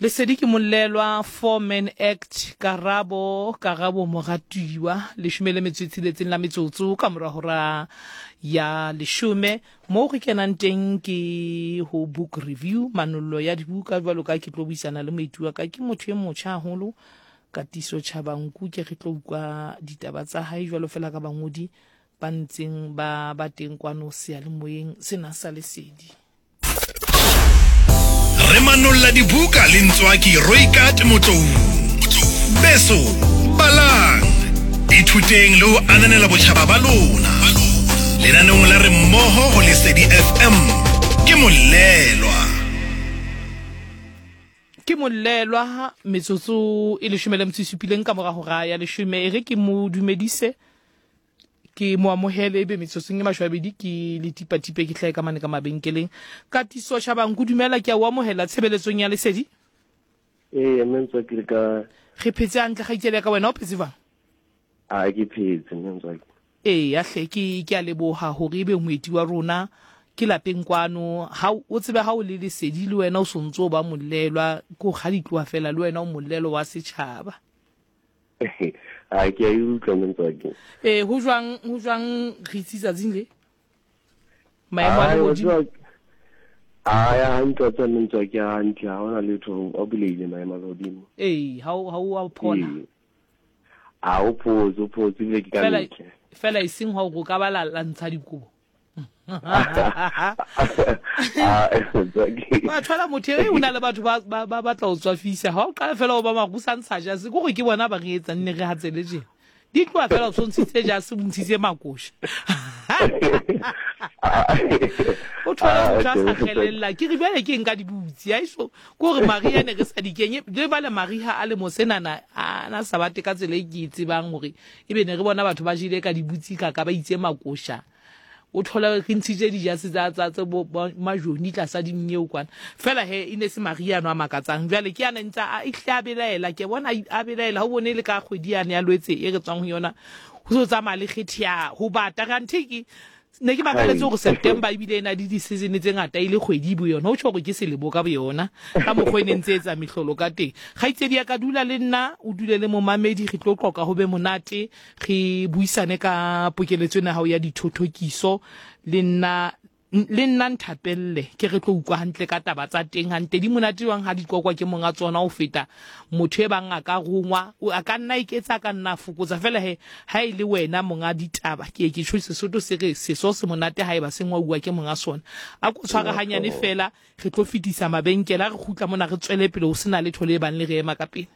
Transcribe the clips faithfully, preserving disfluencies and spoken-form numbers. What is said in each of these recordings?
Lesedi ke Mollelwa, Four Man Act, Karabo, Karabo Moratuwa, leshome le metso e tsheletseng la metsotso ka mora hora ya leshome. Moo re kenang teng ke ho book review, manollo ya dibuka jwalo ka ke tlo buisana le moeti wa ka, ke motho e motjha haholo, Katiso Chabangu, ke re tlo utlwa ditaba tsa hae jwalo fela ka bangodi ba ntseng ba ba teng kwano seyalemoyeng sena sa Lesedi. Re manolla dibuka le Ntswaki Roikat Motloung. Beso, balang, ithuteng le ho ananela botjhaba ba lona. Lenaneong la Re Mmoho ho Lesedi F M ke Mollelwa. Ke Mollelwa, metsotso e leshome le metso e supileng ka mora hora ya leshome. E re ke mo dumedise, ke mo amohele, ebe metsotsong e mashome a mabedi ke le tipatipe ke hlahe ka mane ka mabenkeleng. Katiso Chabangu, dumela, ke a o amohela tshebeletsong ya Lesedi. Ee, mme Ntswaki, re ka Re phetse hantle, kgaitsedi ya ka, wena o phetse jwang? A ke phetse, mme Ntswaki. Ee, hle, ke ke a leboha hore ebe moeti wa rona ke lapeng kwano. Ha o tsebe ha o le Lesedi le wena o sontso o ba mollelwa, ke ho kga ditloha fela le wena o mollelo wa setjhaba. A ke a e utlwa, mme Ntswaki. Ee, ho jwang, ho jwang re itse tsatsing le? Maemo a lehodimo. A ya hantle, tsa mme Ntswaki, a hantle, ha hona letho, a bulehile maemo a lehodimo. Ee, ha o, ha o a phola. A o photse, o photse ebile ke ka Fela, ntle. fela e seng ha o ka ba la, la ntsha dikobo. Ba thola motho e o na le batho ba, ba, ba batla ho tswafisa. Ha o qala fela o ba marusa ntsha jase, ke hore ke bona ba re etsang ne re hatsele tje. Di tloha fela o tshwantshitse jase, o ntshitse makosha. O thola motho a sa kgelella. Ke re jwale ke nka dibutsi. Ha eso, ke hore mariha ne re sa di kenye. Le bale mariha a le mosenana, a na sa bate ka tsela e ke e tsebang hore ebe ne re bona batho ba jele ka dibutsi ka ka ba itse makosha. O thola re ntshitse dijase tsa, tsa, tsa bo, bo majoni tlasa dinnyeo kwana. Fela he, e ne se mariha ano a makatsang. Jwale ke yana ntse a, e hle a belaela. Ke bona a belaela, ha o bone le ka kgwedi yane ya Lwetse e re tswang ho yona, ho so tsamaya le kgethe ya ho bata. Kanthe ke ne ke makaletse hore September ebile e na le di-season tse ngata e le kgwedi bo yona. Ho tjho hore ke selemo ka boyona, ka mokgwa e ne ntse etsa mehlolo ka teng. Kgaitsedi ya ka, dula le nna, o dule le momamedi, re tlo qoqa ho be monate, re buisane ka pokeletso ena ya hao ya dithothokiso. Le nna, le nna nthapelle, ke re tlo utlwa hantle ka taba tsa teng hantle. Di monate jwang ha di qoqwa ke monga tsona ho feta motho e bang a ka rongwa, a ka nna eketsa, a ka nna a fokotsa. Fela he, ha e le wena monga ditaba, ke ke tjho Sesotho se re seso se monate ha eba se ngwauwa ke monga sona. A ko tshware hanyane fela, re tlo fetisa mabenkele, a re kgutla mona re tswele pele ho sena letho le bang le re ema ka pele.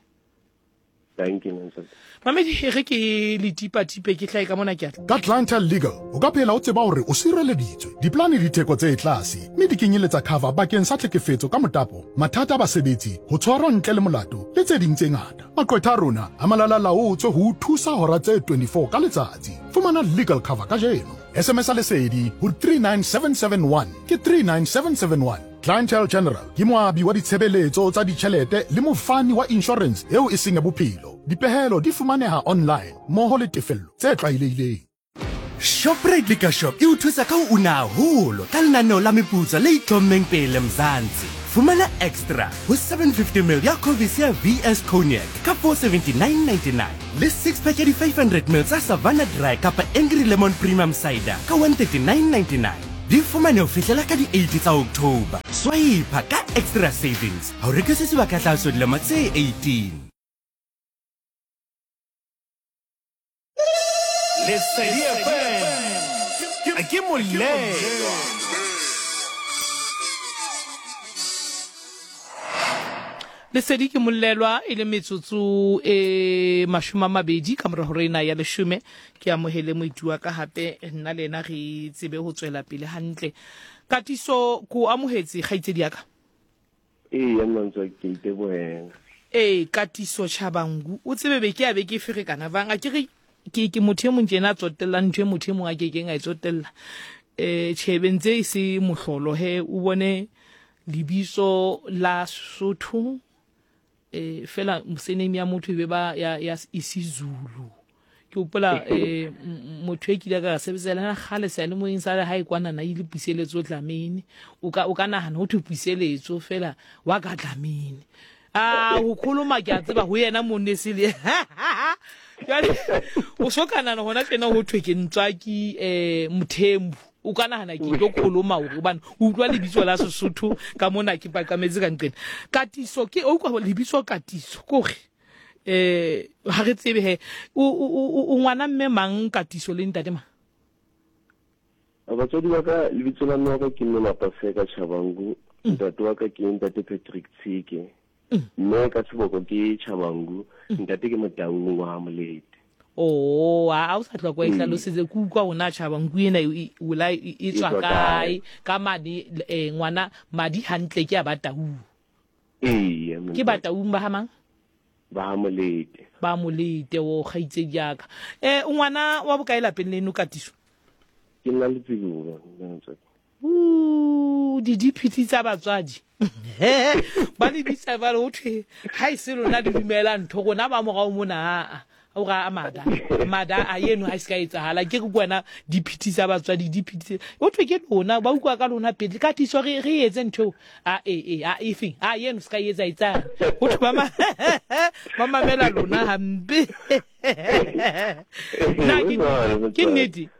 Thank you, Nancy. Mamedi, e re ke le tipatipe ke hlae ka mona ke atla. Ka Clientele Legal, o ka phela o tseba hore o sireleditswe. Diplane di theko tse tlase, mme di kenyeletsa cover bakeng sa tlhekefetso ka motapo, mathata a basebetsi, ho tshwarwa ntle le molato, le tse ding tse ngata. Maqwetha a rona a malalalaotswe ho o thusa hora tse twenty-four ka letsatsi. Fumana legal cover kajeno. S M S a Lesedi ho three nine seven seven one ke three nine seven seven one. Clientele General ke moabi wa ditshebeletso tsa ditjhelete le mofani wa insurance eo e seng ya bophelo. Dipehelo di fumaneha online mmoho le tefello tse tlwaelehileng. Shoprite Liquor Shop e o thusa ka ho una haholo ka lenaneo la meputso le itlhommeng pele Mzansi. Fumana extra ho seven fifty mil ya Covis ya V S Cognac ka four seventy-nine ninety-nine le six pack ya di five hundred mil tsa Savannah Dry kapa Angry Lemon Premium Cider ka one thirty-nine ninety-nine. Di fumane ho fihlela ka di eight tsa October. Swipe ka extra savings ha o rekisetse ba ka tlase dilemo tse eighteen. Lesedi F M ke Mollelwa. Lesedi ke Mollelwa e le metsotso e mashome a mabedi ka mora hora ena ya leshome. Ke amohele moeti wa ka hape, nna le yena re tsebe ho tswela pele hantle. Katiso, ko amohetse kgaitsedi ya ka? Ee, Mmantswa, ke itebohela. Ee, Katiso Chabangu, o tsebe be ke a be ke ferekana bang, a ke re ke ke motho e mong tjena a tsotellang ntho e motho e mong a kekeng a e tsotella. Eh, tjhe, be ntse e se mohlolo he, o bone lebitso la Sotho, eh, fela surname ya motho e be ba ya, ya isiZulu. Ke hopola, eh, motho e kile ka sebetsa le yena kgale seyalemoyeng sa hae kwana na ile Puseletso Dlamini. O ka, o ka nahana ho thwe Puseletso fela wa ka Dlamini. A ho khuluma ke a tseba ho yena monne se le. Jwale o so ka nahana hona tjena ho thwe ke Ntswaki eh Mthembu. O ka nahana ke tlo khuluma hore hobane o utlwa lebitso la Sesotho ka mona ke paqametse ka nqena. Katiso ke o utlwa lebitso Katiso kore eh ha re tsebe he o o ngwana mme mang Katiso le ntate mang? Batswadi ba ka lebitso la mme wa ka ke mme Mapaseka Chabangu, ntate wa ka ke ntate Patrick Tshike. Mme ka tsheboko ke Chabangu, ntate ke Motaung wa Molete. Oh, a o sa tloka e hlalosetse ke utlwa ona Chabangu ena e ola e tswa kae ka madi eh ngwana madi hantle ke a Bataung. Ee, ke Bataung ba ha mang? Ba Molete. Ba Molete o kgaitsedi ya ka. Eh ngwana wa bokae lapeng leno Katiso? Ke nna letsibolo. Uh di diphiti tsa batswadi. Ba le bitsa ba re ho thwe ha e se lona le dumela ntho rona ba morao mona a o ra amada mada a yeno ha se ka etsahala ke ke kwena diphiti tsa batswadi diphiti o thwe ke lona ba utlwa ka lona pele Katiso re re etse ntho a e e a efeng a yeno se ka etsa etsang ho thwe ba ma ba mamela lona hampe na ke ke nnete.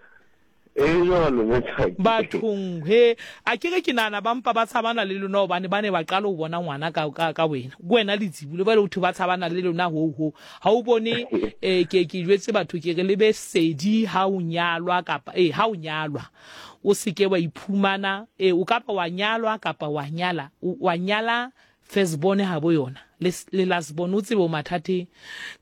Bathong he a ke re ke nana ba mpa ba tshabana le lona hobane ba ne ba qala ho bona ngwana ka ka ka wena ke wena letsibolo ba le ho ba tshabana le lona ho ho ha o bone eh ke ke jwetse batho ke re le be sedi ha o nyalwa kapa eh ha o nyalwa o seke wa iphumana eh o kapa wa nyalwa kapa wa nyala wa nyala first born ha bo yona le le last born o tsebe o mathateng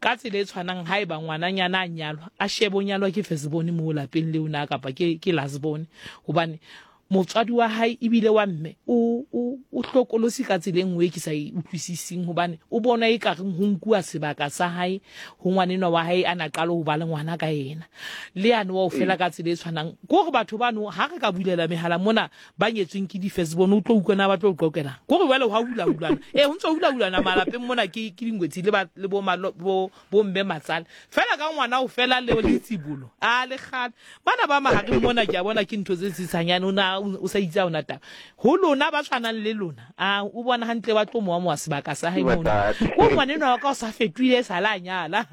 ka tsela e tshwanang ha eba ngwananyana a nyalwa a shebe o nyalwa ke first born mo lapeng le ona kapa ke ke last born hobane motswadi wa hae ebile wa mme o o o hlokolosi ka tsela e nngwe ke sa e utlwisising hobane o bona e ka reng ho nkuwa sebaka sa hae ho ngwanenwa wa hae a na qala ho ba le ngwana ka yena le yane wa o fela ka tsela e tshwanang ke hore batho bano ha re ka bulela mehala mona ba nyetsweng ke di-first born o tlo utlwana ba tlo qoqela ke hore jwale ha hula hulana eh ho ntso hula hulana malapeng mona ke ke dingwetsi le ba le bo bo bo mme matsale fela ka ngwana o fela le letsibolo a le kgale bana ba mahareng mona ke a bona ke ntho tse tsitsanyane o na o sa itse ona taba ho lona ba tshwanang le lona a o bona hantle ba tlo mowa mowa sebaka sa hae mona o ngwanenwa wa ka o sa fetohile sa la nyala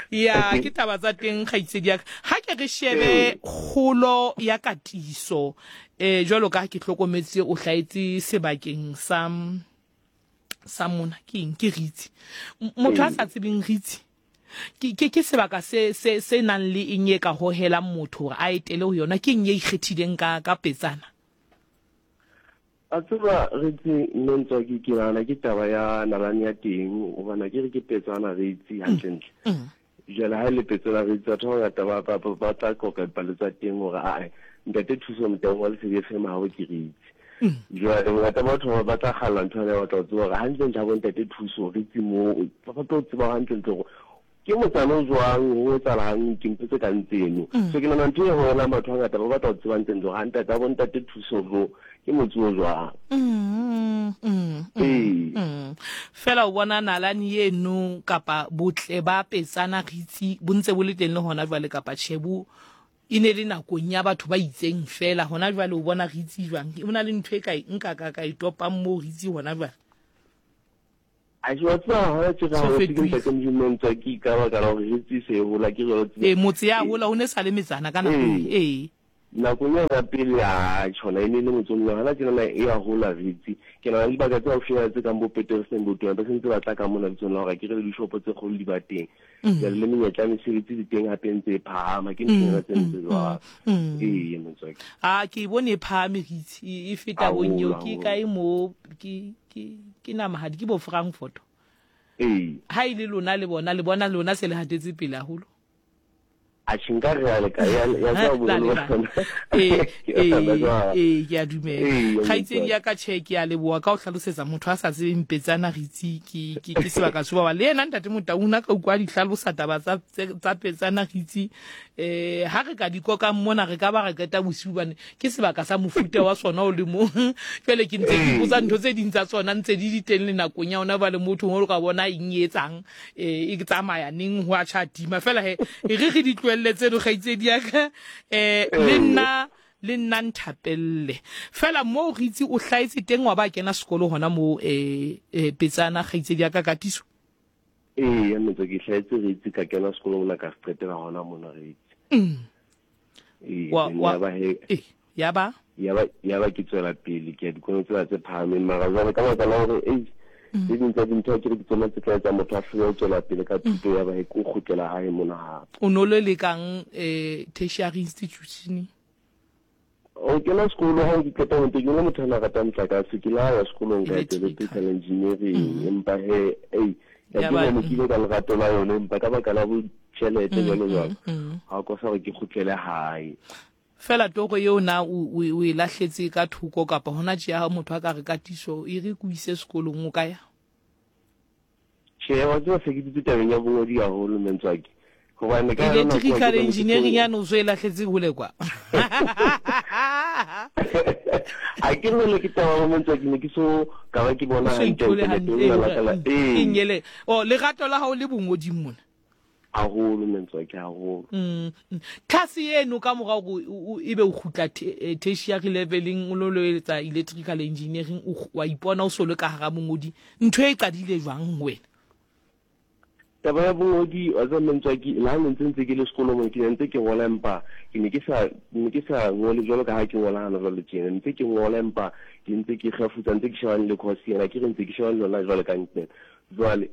ya ke taba tsa teng kgaitsedi ya ka ha ke re shebe kgolo ya Katiso eh jwalo ka ha ke hlokometse o hlahetse sebakeng sa sa mona ke eng ke Ritsi motho a sa tsebeng Ritsi ke ke ke sebaka se se se nang le eng e ka hohelang motho hore a etele ho yona ke eng e ikgethileng ka ka Petsana? A tseba Ritsi nne Ntswaki ke nahana ke taba ya nalane ya teng hobane ke re ke Petsana Ritsi hantlentle. Jwale ha e le Petsana Ritsi batho ba bangata ba ba ba tla qoqa dipalo tsa teng hore ae ntate Thuso Motaung wa Lesedi F M ha o ke Ritsi. Jwale bongata ba batho ba tla kgalla ntho ena ba tla tseba hore hantlentle ha bo ntate Thuso Ritsi moo ba tlo tseba hantlentle hore ke motsana o jwang ho etsahalang ke ntho tse kang tseno. So ke nahana ntho e hohelang batho ba bangata ba batla ho tseba ntlentle hore ha ntate ha bo ntate Thuso mo ke motse o jwang. Ee. Fela o bona nalane eno kapa botle ba Petsana Ritsi bo ntse bo le teng le hona jwale kapa tjhe bo e ne le nakong ya batho ba itseng fela hona jwale o bona Ritsi jwang o na le ntho e ka nka ka ka e topang mo Ritsi hona jwale? A ke wa tseba hona tje ka hore ke ntate Modimo Ntswaki ka baka la hore Ritsi se hola ke re ee motse ya hola ho ne sa le metsana ka nako ee nakong ya pele a tjhona e ne le motsong hona tjena e ya hola Ritsi ke nahana dibaka tse haufinyana tse kang bo Peterson bo Tona ba sentse ba tla ka mona bitsong la hore ke re le dishopo tse kgolo di ba teng jwale le menyetla ya mesebetsi di teng hape ntse e phahama ke ntho tse ntse jwalo. Ee Motswaki a ke bone e phahame Ritsi e feta bonnyo ke kae mo ke ke ke namahadi ke bo Frankfurt. Ee ha ile lona le bona le bona lona se le hatetse pele haholo. A tjhe nka re ya leka ya ya tswa boholo ba sona. Ee ee ke a dumela kgaitsedi ya ka tjhe ke a leboha ka ho hlalosetsa motho a sa tsebeng Petsana Ritsi ke ke ke sebaka se ba le yena ntate Motaung a ka utlwa di hlalosa taba tsa tsa Petsana Ritsi eh ha re ka di kokang mona re ka ba re qeta bosiu bane ke sebaka sa mofuta wa sona o le mong jwale ke ntse ke ipotsa ntho tse ding tsa tsona ntse di di teng le nakong ya ona ba le motho o ka bona eng e etsang eh e tsamaya neng ho a tjha tima fela he e re re di tlohelletse tseno kgaitsedi ya ka eh le nna Le nna nthapelle. Fela moo re itse o hlahetse teng wa ba kena sekolo hona moo eh eh Petsana kgaitsedi ya ka Katiso. Ee, mme ke hlahetse re itse ka kena sekolo mona ka se qetela hona mona re itse. Mm. Ee, Wa then wa ya ba he eh ya ba ya ba ya ba ke tswela pele ke ya dikolong tsena tse phahameng mara jwale ka baka la hore ei tse ding tsa dintho akere ke tsona tse tla etsa motho a hlole ho tswela pele ka thuto ya ba he ke o kgutlela hae mona hape. O no le lekang eh tertiary institution. O kena sekolo ha ke qeta ho ntse ke le motho a na ratang motlakase ke la ya sekolong ka etsa Electrical. electrical engineering empa he ei ya Ya ke ba ne ke ile ka lerato la yone empa ka baka la bo tjhelete jwalo jwalo ha o kosa hore ke kgutlele hae. Fela toro eo na o o o e lahletse ka thoko kapa hona tje ha motho a ka re Katiso e re ko ise sekolong o ka ya. Tjhe, wa tseba se ke dutse tabeng ya bongodi haholo Mentswaki. Hobane ka yona nako Electrical ke ne ke engineering so yane o so e lahletse hole kwa. Ha ke re le ke taba ya Mentswaki ne ke so ka ba ke bona O so hantle ithole hantle hantle le la ka la ee ee keng ele. O lerato la hao le bongoding mona. Haholo Mentswaki haholo. Mm. mm. Tlhase eno ka mora hore o- o- ebe o kgutla te- eh, tertiary leveleng o lo lo etsa electrical engineering o kg- wa ipona o so le ka hara bongodi. Ntho e qadile jwang ho wena? Taba ya bongodi wa tseba Mentswaki le ha ne ntse ntse ke le sekolong mona ke ne ntse ke ngola empa ke ne ke sa ne ke sa ngole jwalo ka ha ke ngola hana jwale tjena ntse ke ngola empa ke ntse ke kgefutsa ntse ke shebane le course ena ke re ntse ke shebane le yona jwale ka ntle jwale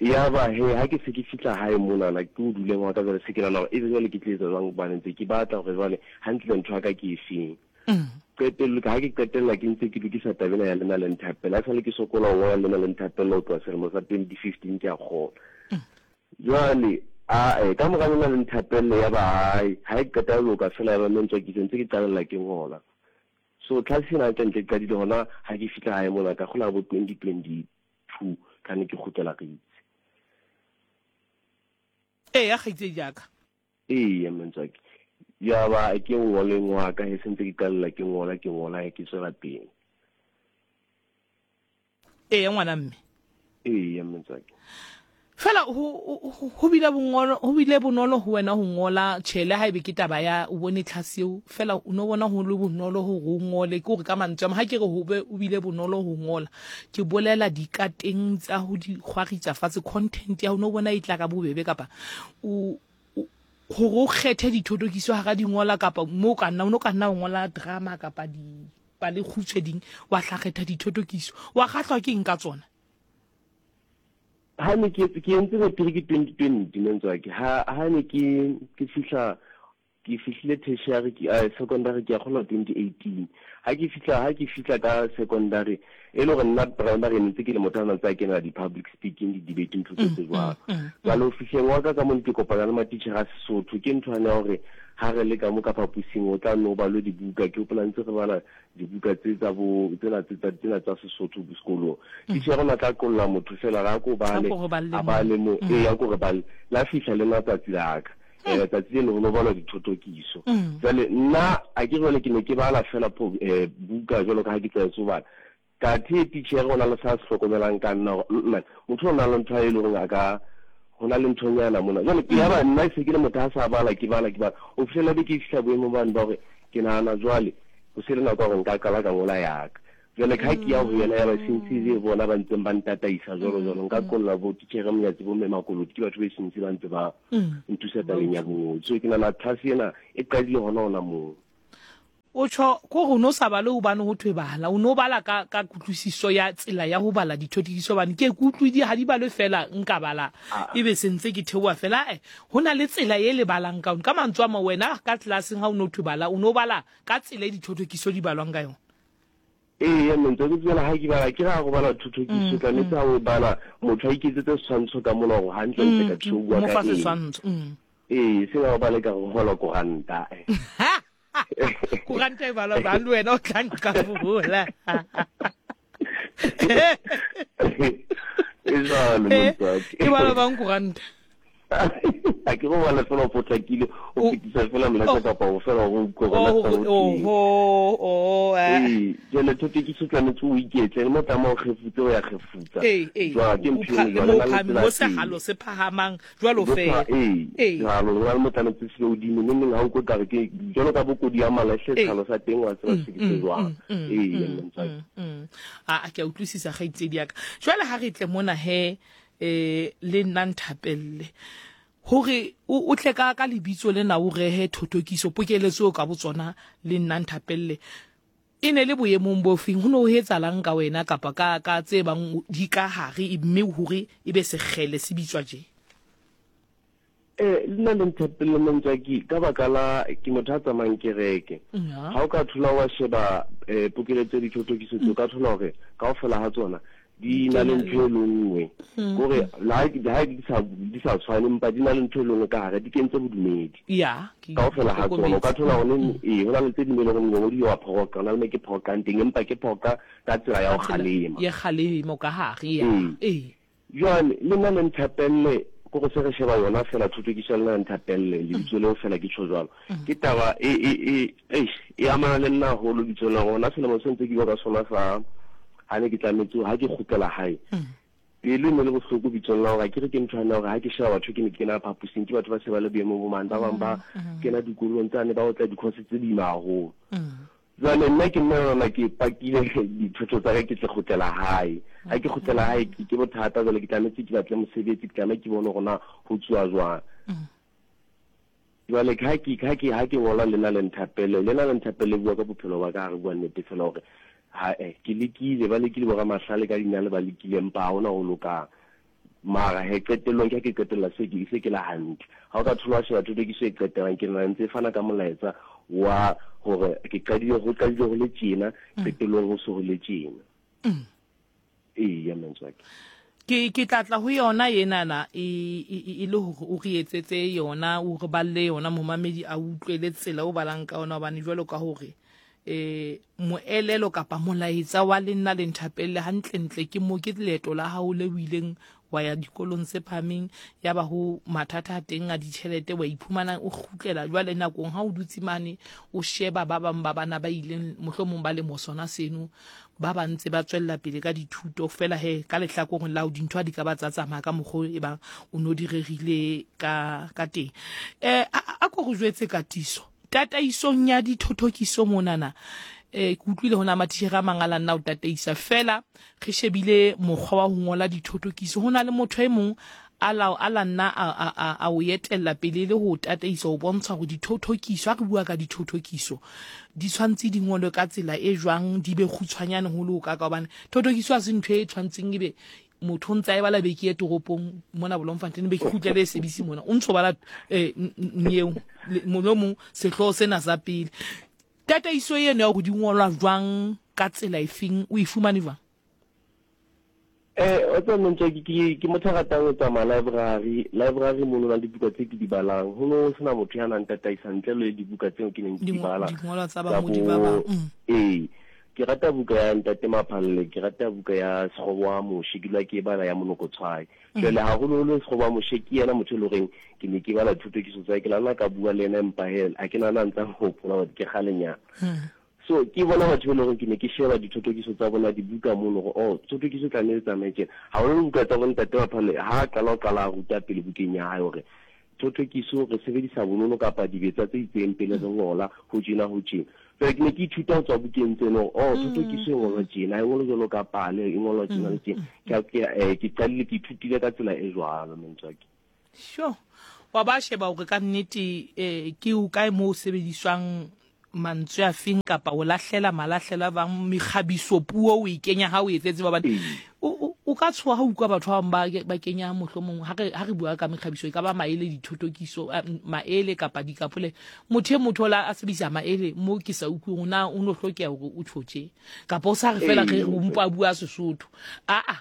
ya ba he ha ke se ke fihla hae monana ke o duleng wa ka jwale se ke nahana hore ebe jwale ke tla etsa jwang hobane ntse ke batla hore jwale hantle ntho ya ka ke efeng. Qetello ha ke qetella ke ntse ke lokisa taba ena ya lena le nthapela ha sale ke sokola ho ngola lena le nthapela ho tloha selemo sa twenty fifteen ke a kgola. Jwale a eh ka mora lena le nthapelle ya ba hae ha e qeta ho loka fela ya ba Mentswaki ke ntse ke qalella ke ngola. So tlhase ena hantle ntle ke qadile hona ha ke fihla hae mona ka kgola bo twenty twenty two ka ne ke kgutlela re itse. Ee ya kgaitsedi ya ka. Ee Mentswaki. Ya ba ke ngoleng wa ka he sentse ke qalella ke ngola ke ngola ke tswela pele. Ee ngwana mme. Ee Mentswaki. Fela ho ho ho bile bongolo ho bile bonolo ho wena ho ngola tjhe le haebe ke taba ya o bone tlhase eo fela o no bona ho le bonolo hore o ngole ke hore ka mantswe a mang ha ke re ho be o bile bonolo ho ngola ke bolela dikateng tsa ho di kgwaritsa fatshe content ya ho no bona e tla ka bobebe kapa o o- hore o kgethe dithotokiso hara di ngola kapa mo ka nna o no ka nna o ngola drama kapa dipale kgutshwe ding wa tla kgetha dithotokiso wa kgahlwa ke eng ka tsona. Ha ne ke ke entse matric twenty twenty Mentswaki ha ha ne ke ke fihla ke fihlile tertiary ke eh, secondary ke ya kgola twenty eighteen ha ke fihla ha ke fihla ka secondary e le hore nna primary ne ntse ke le motho a na ntse a kena di-public speaking di-debate ntho tse tse jwalo. Jwale ho fihleng wa ka ka mo ke kopana le matitjhere a Sesotho ke ntho ane ya hore ha re le ka mo ka phaposing o tla no balwe dibuka ke hopola ntse re bala dibuka tse tsa bo tsena tse tsa tsena tsa Sesotho sekolong. Titjhere o na tla qolla motho fela ra ko bale A ko re balle a mo. bale mo ee a ko re bale la fihla le matsatsi la ka. Eh tsatsi leno ho no balwa dithotokiso. Jwale nna a ke jwale ke ne ke bala fela po eh buka jwalo ka ha ke tlwaetse ho bala. Kathe titjhere o na le sa se hlokomelang ka nna hore mm motho o na le ntho e leng hore a ka ho na le nthonyana mona. Jwale ke ya ba nna se ke le motho a sa bala ke bala ke bala. O fihlela be ke fihla boemong bane ba hore ke nahana jwale ho se le nako ya hore nka qala ka ngola ya ka. Jwale ka ha ke ya ho yena ya ba sentse le bona ba ntseng ba ntataisa jwalo jwalo nka qolla bo titjhere Monyatsi bo mme Makoloti ke batho be sentse ba ntse ba nthusa tabeng ya bongodi. So ke nahana tlhase ena e qadile hona hona moo. O tjho ko re o no sa bale hobane ho thwe bala o no bala ka ka kutlwisiso ya tsela ya ho bala dithotokiso hobane ke ke utlwe di ha di balwe fela nka bala ebe se ntse ke theoha fela eh ho na le tsela e le balang ka yona ka mantswe a mang wena ka tlelaseng ha o no thwe bala o no bala ka tsela e dithotokiso di balwang ka yona. Ee Mentswaki ke tsela ha ke bala ke ra go bala thothokiso tlametse ha o bala motho a iketsetse setshwantsho ka mona hore hantle ntle ka thuso o bua mo ka fa eng. setshwantsho mm. Ee seng ha o bale ka go gola koranta. Koranta e balwa jwang le wena o tla nka bola. E jwalo Mentswaki. E balwa bang koranta? Ha ke go bala fela o potlakile o fetisa fela molaetsa kapa o fela o utlwe Oh, hore na oh, oh, oh, eh. Ee, Jwale thothokiso tlametse o iketle le mo tsamaya o kgefutse o ya kgefutsa. Ee, ee. Jwale ke O ntho pha- e le nngwe mo jwale na le phahame- tsela mo teng. sehalo se phahamang jwalo Bo fela. pha- ee, Ee. jwalo ho na le mo tlametse se be hodimo neng neng ha o utlwe ekare ke jwalo ka bokodi ya malahle Ee. sehalo sa teng wa tseba se ke se jwang. Mm, Ee, mm, mantswe. mm, mm. A ke a utlwisisa kgaitsedi ya ka. Jwale ha re tle mona he eh le nna nthapelle hore o o tle ka ka lebitso lena o rehe thothokiso pokeletso ka botsona le nna nthapelle e ne le boemong bo feng ho no ho etsahalang ka wena kapa ka ka tse bang di ka hare mme hore e be sekgele se bitswa tje? Eh, le nna le nthapelle mantswe ke ka baka la ke motho a tsamayang kereke. Ya. Ha o ka thola wa sheba eh pokeletso ya dithothokiso tseo, o ka thola hore kaofela ha tsona di na le ntho e le nngwe. Kore le ha le ha di sa di sa tshwane empa di na le ntho e le nngwe ka hare, di kentse bodumedi. Ya, ke Kaofela ha tsona o ka hlokometse. thola hore neng ee ho na le tse ding e leng hore mongodi wa phoka, ho na le mo ke phokang teng empa ke phoka ka tsela ya ho Ka tsela kgalema. ya kgalemo ka hare ya. Ee. Ee. Jwale le nna le nthapelle ko go se re sheba yona fela thothokiso ya lena le nthapelle lebitso leo fela ke tjho jwalo. Ke taba e e e eish, e amana le nna haholo lebitso la rona selemo se ntse ke bua ka sona sa ha ne ke tlametse ha ke kgutlela hae. Pelo e ne le bohloko bitsong la hore ha ke re ke ntho ya hore ha ke sheba batho ke ne ke kena phaposing ke batho ba se ba le boemong bo mang, ba bang ba kena dikolong tsane ba otla di-course tse boima haholo. Jwale nna ke nna yona ke pakile dithoto tsa ka ke tle kgutlela hae. Ha ke kgutlela hae ke ke bothata jwale ke tlametse ke batle mosebetsi, ke tlameha ke bone hore na ho tsuwa jwang. Jwale ha ke ha ke ha ke ngola lena le nthapelle, lena le nthapelle bua ka bophelo ba ka ha re bua nnete fela hore ha eh ke lekile ba lekile bo ramahlale ka dinale ba lekile empa ha hona ho lokang. Mara he qetellong ke ha ke qetella se ke se ke la hantle. Ha o ka thola wa sheba thothokiso e qetellang ke nna ntse e fana ka molaetsa wa hore ke qadile ho qadile ho le tjena, qetellong ho se ho le tjena. Ee, ya mantswe a ka. Ke ke tla tla ho yona enana e e e le hore o re etsetse yona o re balle yona momamedi a utlwele tsela o balang ka yona hobane jwalo ka hore eh moelelo kapa molaetsa wa le nna le nthapelle hantlentle ke mo ke leeto la hao le o ileng wa ya dikolong tse phahameng ya ba ho mathata a teng a ditjhelete wa iphumana o kgutlela jwale nakong ha o dutse mane o sheba ba bang ba bana ba ileng mohlomong ba le mo sona seno ba ba ntse ba tswella pele ka dithuto fela he ka lehlakoreng la ho dintho ha di ka ba tsa tsamaya ka mokgwa e bang o no di rerile ka ka teng. Eh a a ko re jwetse ka tiso tataisong ya dithothokiso monana eh ke utlwile hona matitjhere a mang a la nna o tataisa fela re shebile mokgwa wa ho ngola dithothokiso ho na le motho e mong a la a la nna a a a, a o etella pele le ho tataisa ho bontsha hore dithothokiso ha re bua ka dithothokiso di tshwantse di ngolwe ka tsela e jwang di be kgutshwanyane ho le ho ka ka hobane thothokiso ha se ntho e tshwantseng ebe motho o ntse a e bala beke ye toropong mona Bloemfontein be ke kgutlele e sebisi mona o ntso bala eh nyeo mohlomong sehlooho sena sa pele tataiso eno ya hore di ngolwa jwang ka tsela efeng o e fumane jwang? Eh o tswa mantswe ke ke ke motho a ratang ho tsamaya library, library mono na le dibuka tse ke di balang. Ho no sena motho ya nang tataisa ntle le dibuka tseo ke neng ke di Dingolwa bala dingolwa tsa tsa bangodi ba bang. bo Mm. ee ke rata buka ya Ntate Maphalle, ke rata buka ya Sekgobo wa Moshe, ke dula ke e bala ya Monokotshwai. Jwale haholoholo Sekgobo wa Moshe ke yena motho e leng horeng ke ne ke bala dithothokiso tsa hae, ke la nna ka bua le yena empa he ha ke nahana ntsa hopola hore ke kgalenyana. So ke bona batho ba e leng hore ke ne ke sheba dithothokiso tsa bona dibuka mono hore oh thothokiso tlamehile e tsamaye tjena. Haholoholo buka tsa bo Ntate Maphalle ha a qala ho qala a ruta pele bukeng ya hae hore thothokiso re sebedisa bonono kapa dibetsa tse itseng pele re ngola ho tjena ho tjena. Jwale ke ne ke ithuta ho tswa bukeng tseno hore oh thothokiso e ngolwa tjena, ha e ngolwe jwalo ka pale, e ngolwa tjena le tjena. Ke ke eh ke qadile ke ithutile ka tsela e jwalo mantswe a ka. Sure. Wa ba sheba hore ka nnete eh ke o kae moo sebediswang mantswe a feng kapa o lahlela malahlela bang mekgabiso puo o e kenya ha o etsetse ba bane o o ka tshoha ha utlwa batho ba bang ba kenya mohlomong ha re ha re bua ka mekgabiso e ka ba maele dithotokiso maele kapa dikapole motho e motho la a sebedisa maele mo ke sa utlwe na o no hlokeha hore o tjhotje kapa o sa re fela re o mpa bua Sesotho a a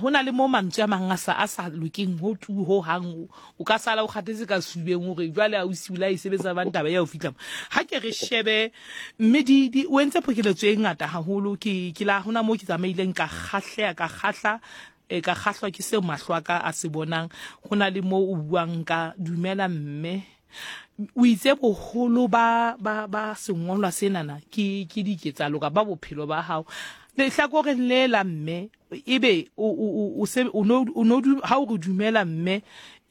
hona le mo mantswe a mang a sa a sa lokeng ho tu ho hang o ka sala o kgathetse ka subeng hore jwale a o siula e sebetsa ba ntaba ya o fihla ha ke re shebe mme di di o entse pokeletso e ngata haholo ke ke la hona mo ke tsamaileng ka kgahleha ka kgahla e ka kgahlwa ke seo mahlo a ka a se bonang hona le mo o buang ka dumela mme O itse boholo ba ba ba sengolwa senana ke ke diketsahalo kapa bophelo ba hao. Lehlakoreng le la mme ebe o o o se o no o no ha o re dumela mme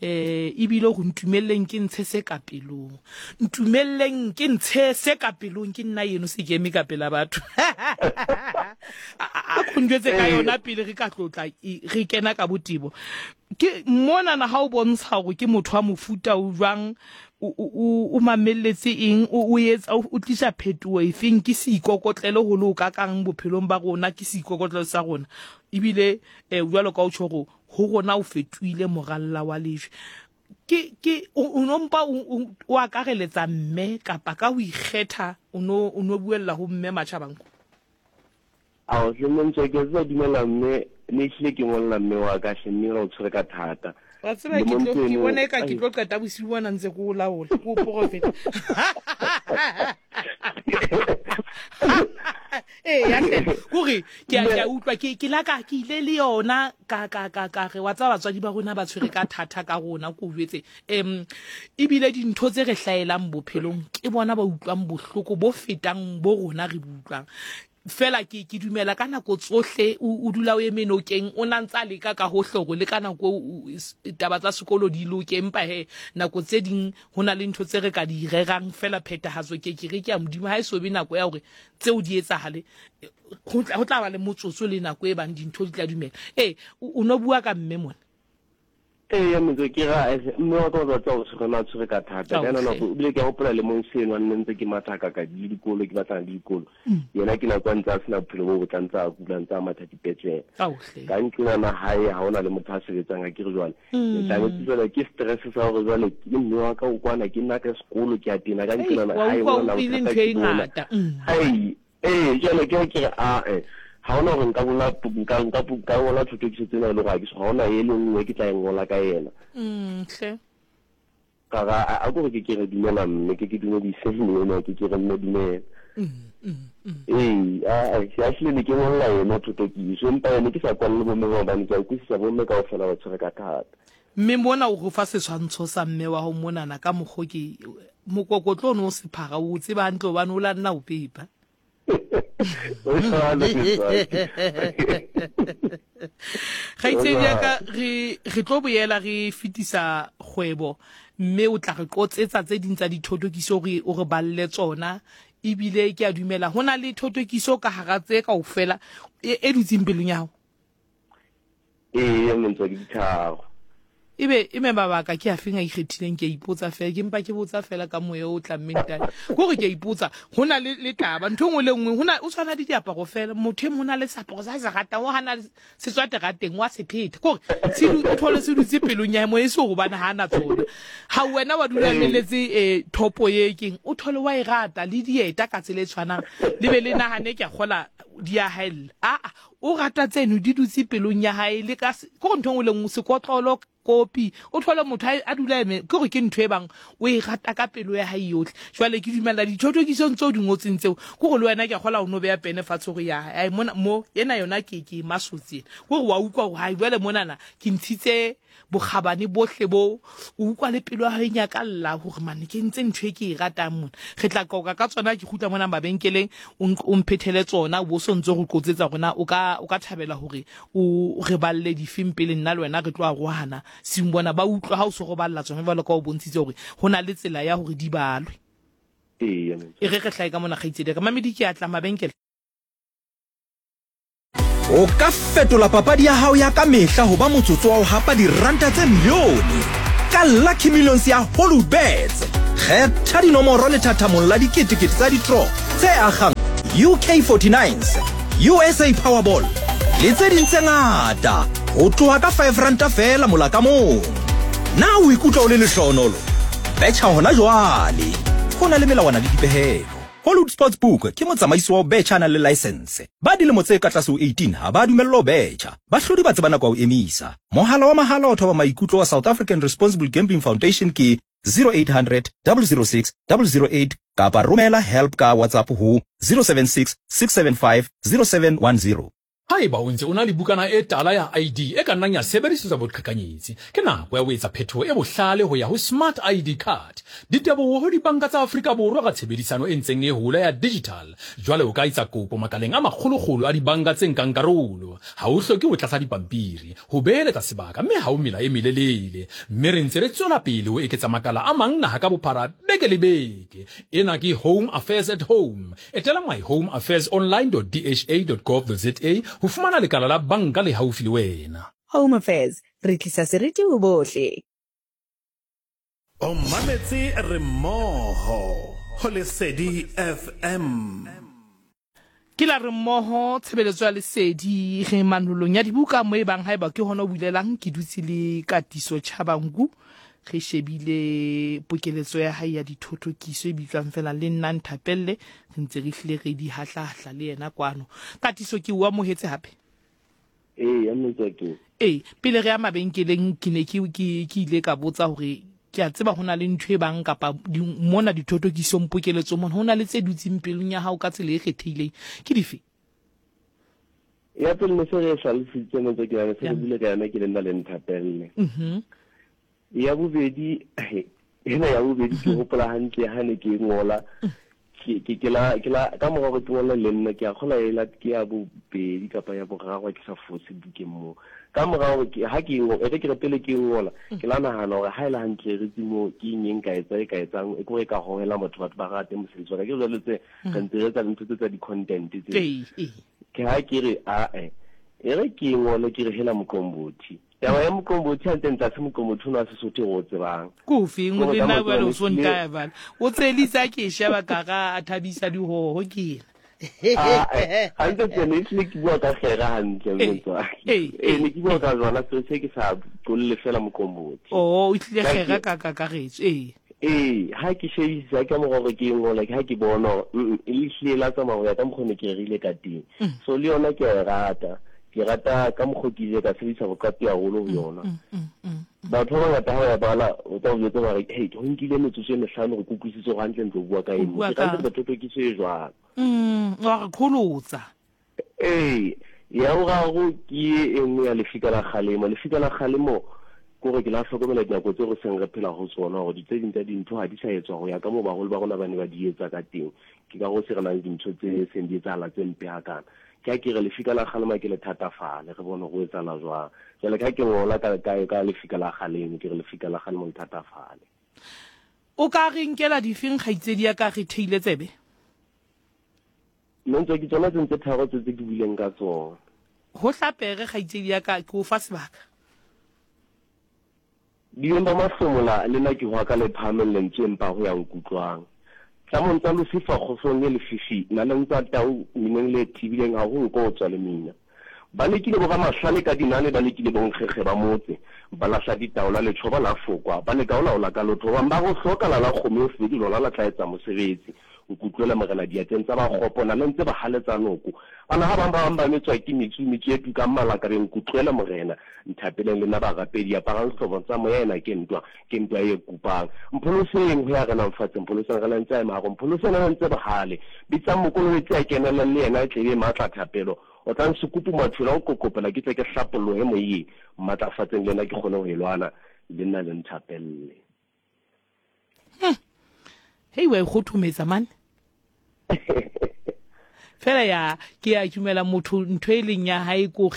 eh ebile go ntumelleng ke ntshe se ka pelong. Ntumelleng ke ntshe se ka pelong ke nna yeno se ke eme ka pela batho. A khonjwetse ka yona pele re ka tlotla re kena ka botebo. Ke mona na ha o bontsha hore ke motho wa mofuta o jwang, o o o mamelletse eng, o o etsa o tlisa phetoho efeng, ke seikokotlelo ho le ka kang bophelong ba rona, ke seikokotlelo sa rona. Ebile eh jwalo ka o tjho hore ho rona o fetohile moralla wa lejwe. Ke ke o no mpa o akareletsa mme kapa ka ho ikgetha o no o no buella ho mme Matjhabangu? Ao hle mme ke tsa dumela mme ne hlile ke ngolla mme wa ka hle mme ra o tshwere ka thata. Wa tseba ke tlo ke bona eka ke tlo qeta bosiu bona ntse ke o laola ke o profeta. Eh ya hle kore ke a ke a utlwa ke ke la ka ke ile le yona ka ka ka ka re wa tsaba batswadi ba rona ba tshwere ka thata ka rona ko jwetse em ebile dintho tse re hlaelang bophelong ke bona ba utlwang bohloko bo fetang bo rona re butlwang. Fela ke ke dumela ka nako tsohle o dula o eme nokeng o na ntsa leka ka hohle hore le ka nako taba tsa sekolo di loke, empa he nako tse ding ho na le ntho tse re ka di rerang fela phethahatso ke ke re ke ya Modimo ha e so be nako ya hore tseo di etsahale ho tla ba le motsotso le nako e bang dintho di tla dumela. Eh o no bua ka mme mona. Ee ya motho ke ra mme wa ka o tsa o tshwere na tshwere ka thata ka nako o bile ke hopola le mong seno a nne ntse ke mathaka ka di dikolo ke batlana le dikolo yena ke nako a ntse a sena bophelo bo botle ntse a kula ntse a matha dipetlele ka ntlong ya hae ha hona le motho a sebetsang a ke re jwale ke tlametse jwale ke stress sa hore jwale ke mme wa ka o kwana ke nna ka sekolo ke a tena ka ntlong ya hae hona bothata ai eh jwale ke ke re a eh ha ona hore nka ngola nka nka nka ngola thothokiso tsena e le hore ha ke so ha ona e le nngwe ke tla e ngola ka yena. Mm hle. Ka ga a go ke ke re dumela mme ke ke dumedise mme ena ke ke re mme dumela. Mm mm. Ee a a hlile ne ke ngolla yona thothokiso empa yone ke sa kwalle bomme ba hobane ke a utlwisisa bomme kaofela ba tshwere ka thata. Mme mona o go fa setshwantsho sa mme wa ho monana ka mokgo ke mokokotlo o no sephara o tseba hantle hobane o la nna o pepa. Kgaitsedi ya ka re re tlo boela re fetisa kgwebo mme o tla re qotsetsa tse ding tsa dithotokiso re o re balle tsona ebile ke a dumela ho na le thotokiso ka hara tse kaofela e dutseng pelong ya hao. Ee mme ke ditharo. Ebe eme mabaka ke a feng a ikgethileng ke a ipotsa fela ke mpa ke botsa fela ka moya o tlammeng tane kore ke a ipotsa ho na le le taba ntho engwe le nngwe ho na o tshwana le diaparo fela motho e mong ho na le seaparo sa se ratang o hana se tswa terateng wa se phetha kore se o thole se dutse pelong ya mo e se hobane ha ana tsona ha wena wa dula meletse eh thopo ye keng o thole wa e rata le dieta ka tsela e tshwanang le be le nahane ke a kgola di a haella a a o rata tseno di dutse pelong ya hae le ka kore ntho engwe le nngwe sekotlolo kopi o thole motho a dula eme ke gore ke ntho e bang o e rata ka pelo ya hae yotlhe. Jwale ke dumela dithotokisong tseo di ngotseng tseo ke gore le wena ke a kgola o no beya pene fatshe hore ya ai mona mo ena yona ke ke masotsi ena ke gore wa utlwa hore hai jwale monana ke ntshitse bokgabane bohle bo o utlwa le pelo ya hae nyakalla hore mane ke ntse ntho e ke e ratang mona. Re tla qoqa ka tsona ke kgutla mona mabenkeleng o mphethele tsona o bo so ntse go qotsetsa rona o ka o ka thabela hore o re balle difeng pele nna le wena re tlo arohana seng bona ba utlwa ha o so go balla tsona jwalo ka o bontshitse hore ho na le tsela ya hore di balwe. Ee e re re hlae ka mona kgaitsedi ka mamedi ke a tla mabenkele. O ka fetola papadi ya hao ya ka mehla ho ba motsotso wa ho hapa diranta tse milione ka Lucky Millions ya Hollywoodbets. Kgetha dinomoro lethathamong la diketekete tsa ditro tse akgang U K forty-nines, U S A Powerball le tse ding tse ngata ho tloha ka five ranta fela mola ka mong. Na o ikutlwa o le lehlohonolo? Betjha hona jwale. Ho na le melawana le dipehelo. Hollywood Sportsbook ke motsamaisi wa ho betjha a nang le license. Ba dilemo tse ka tlase ho eighteen ha ba dumellwa ho betjha. Bahlodi ba tseba nako ya ho emisa. Mohala wa mahala wa thoba maikutlo wa South African Responsible Gambling Foundation ke zero eight hundred, double zero six, double zero eight kapa romela help ka WhatsApp ho zero seven six, six seven five, zero seven one zero. Haeba o ntse o na le bukana e tala ya I D e ka nnang ya sebedisetswa boqhekanyetsi, ke nako ya ho etsa phetoho e bohlale ho ya ho Smart I D card. Diteboho ho dibanka tsa Afrika Borwa ka tshebedisano e ntseng e hola ya digital. Jwale o ka etsa kopo makaleng a makgolokgolo a dibanka tse nkang karolo. Ha o hloke ho tlatsa dipampiri, ho beeletsa sebaka mme ha o mela e melelele. Mme re ntse re tswela pele ho eketsa makala a mang naha ka bophara beke le beke. Ena ke Home Affairs at Home. Etela my home affairs online dot d h a dot gov dot z a ho fumana lekala la banka le haufi le wena. Home Affairs, re tlisa seriti ho bohle. O mametse re mmoho ho Lesedi F M. Ke la re mmoho tshebeletso ya Lesedi re manolong ya dibuka mo e bang haeba ke hona o bulelang ke dutse le Katiso Chabangu re shebile pokeletso ya hae ya dithothokiso e bitswang fela le nna Nthapelle re ntse re hlile re di hahlahla le yena kwano. Katiso ke o amohetse hape? Ee, ya motswaki. Ee, pele re ya mabenkeleng ke ne ke ke ile ka botsa hore ke a tseba hona le ntho e bang kapa mona dithothokiso pokeletso mona hona le tse dutseng pelong ya hao ka tsela e kgethehileng ke dife? Ya pele ne se re hlalositse motswaki wa se re bule ka yona ke le nna le Nthapelle. Mhm. Ya bobedi ena ya bobedi ke hopola hantle ha ne ke ngola ke ke la ke la ka mora go ke ngola le nna ke a kgola ela ke ya bobedi kapa ya boraro ke sa fose bukeng mo ka mora go ke ha ke ngo e ke re pele ke ngola ke la nahana hore ha ile hantle re tsimo ke eng ka etsa e ka etsang e kore ka hohela motho batho ba rate mosebetsi wa ka ke jwale tse re ntse re etsa dintho tse tsa di-content tse ke ha ke re a e e re ke ngole ke re hela moqombothi. Taba ya moqombothi hantle ntla se moqombothi o Sesotho o tsebang. Kofi ngwe le nna ba lo sonta ba. O tselisa ke sheba ka ga a thabisa dihoho ke ena. Hantle ke ne ke bua ka kgera hantle motswaki. Eh ne ke bua ka jona se se ke sa qolle fela moqombothi. Oh, o tlile kgera ka kakaretso eh. Ee, ha ke shebisa ka mora hore ke ngola ke ha ke bona e le hlile la tsamaya ho ya ka mokgwa ne ke rerile ka teng. So le yona ke a e rata. Ke rata ka mokgwa ke ile ka sebedisa boqapi haholo ho yona. Batho ba bangata ha ba bala o tla o jwetsa ba re hey ho nkile metsotso e mehlano re kutlwisise hore hantle ntlo bua ka eng. Ke rata thothokiso e jwalo. Mm, wa re qholotsa. Ee, ya boraro ke e nngwe ya Lefika la Kgalemo. Lefika la Kgalemo kore ke la hlokomela dinako tseo re seng re phela ho tsona hore tse ding tsa dintho ha di sa etswa ho ya ka moo baholo ba rona ba ne ba di etsa ka teng. Ke ka go se re nang le dintho tse seng di etsahala tse mpe hakana. Ke a ke re Lefika la Kgalemo ke le thatafale re bone go etsahala jwang. Jwale ka ke ngola ka ka ka Lefika la Kgalemo ke re Lefika la Kgalemo le thatafale. O ka re nkela difeng kgaitsedi ya ka re theile tsebe? Nna ntse ke tsona tse ntse tharo tse tse ke buileng ka tsona. Ho hlapere kgaitsedi ya ka ke o fa sebaka. Dileng ba mahlomola le nna ke hwa ka le phahameng lentswe empa ho ya nkutlwang. Tlamong tsa Lucifer kgohlong e lefifi naleng tsa tau mineng le thibileng ha ho nko tswa le mina. Ba lekile bo ramahlale ka dinane ba lekile bo nkgekge ba motse ba lahla ditaola letjhoba la fokwa ba leka ho laola ka lotho ba ba go hloka la la kgomo e fedi lona la tla etsa mosebetsi. Nkutlwela morena diatleng tsa ba kgopo na le ntse ba haletsa noko. Bana ha bang ba bang ba metswa ke metsu metsu e tukang malaka re nkutlwela morena nthapeleng le nna barapedi aparang hlobo tsa moya ena ke ntwa ke ntwa e kupang. Mpholoseng ho ya re nang fatshe mpholoseng re ntse ema go mpholoseng re ntse bohale bitsang mokolobetsi a kenelang le yena e tlebe matla thapelo o tla nsukupu mathula o kokopela ke tle ke hlapollohe moyeng matlafatseng le nna ke kgone ho e lwana le nna le nthapelle. Hei wa kgothometsa man. Fela ya ke ya dumela motho ntho e leng ya hae ko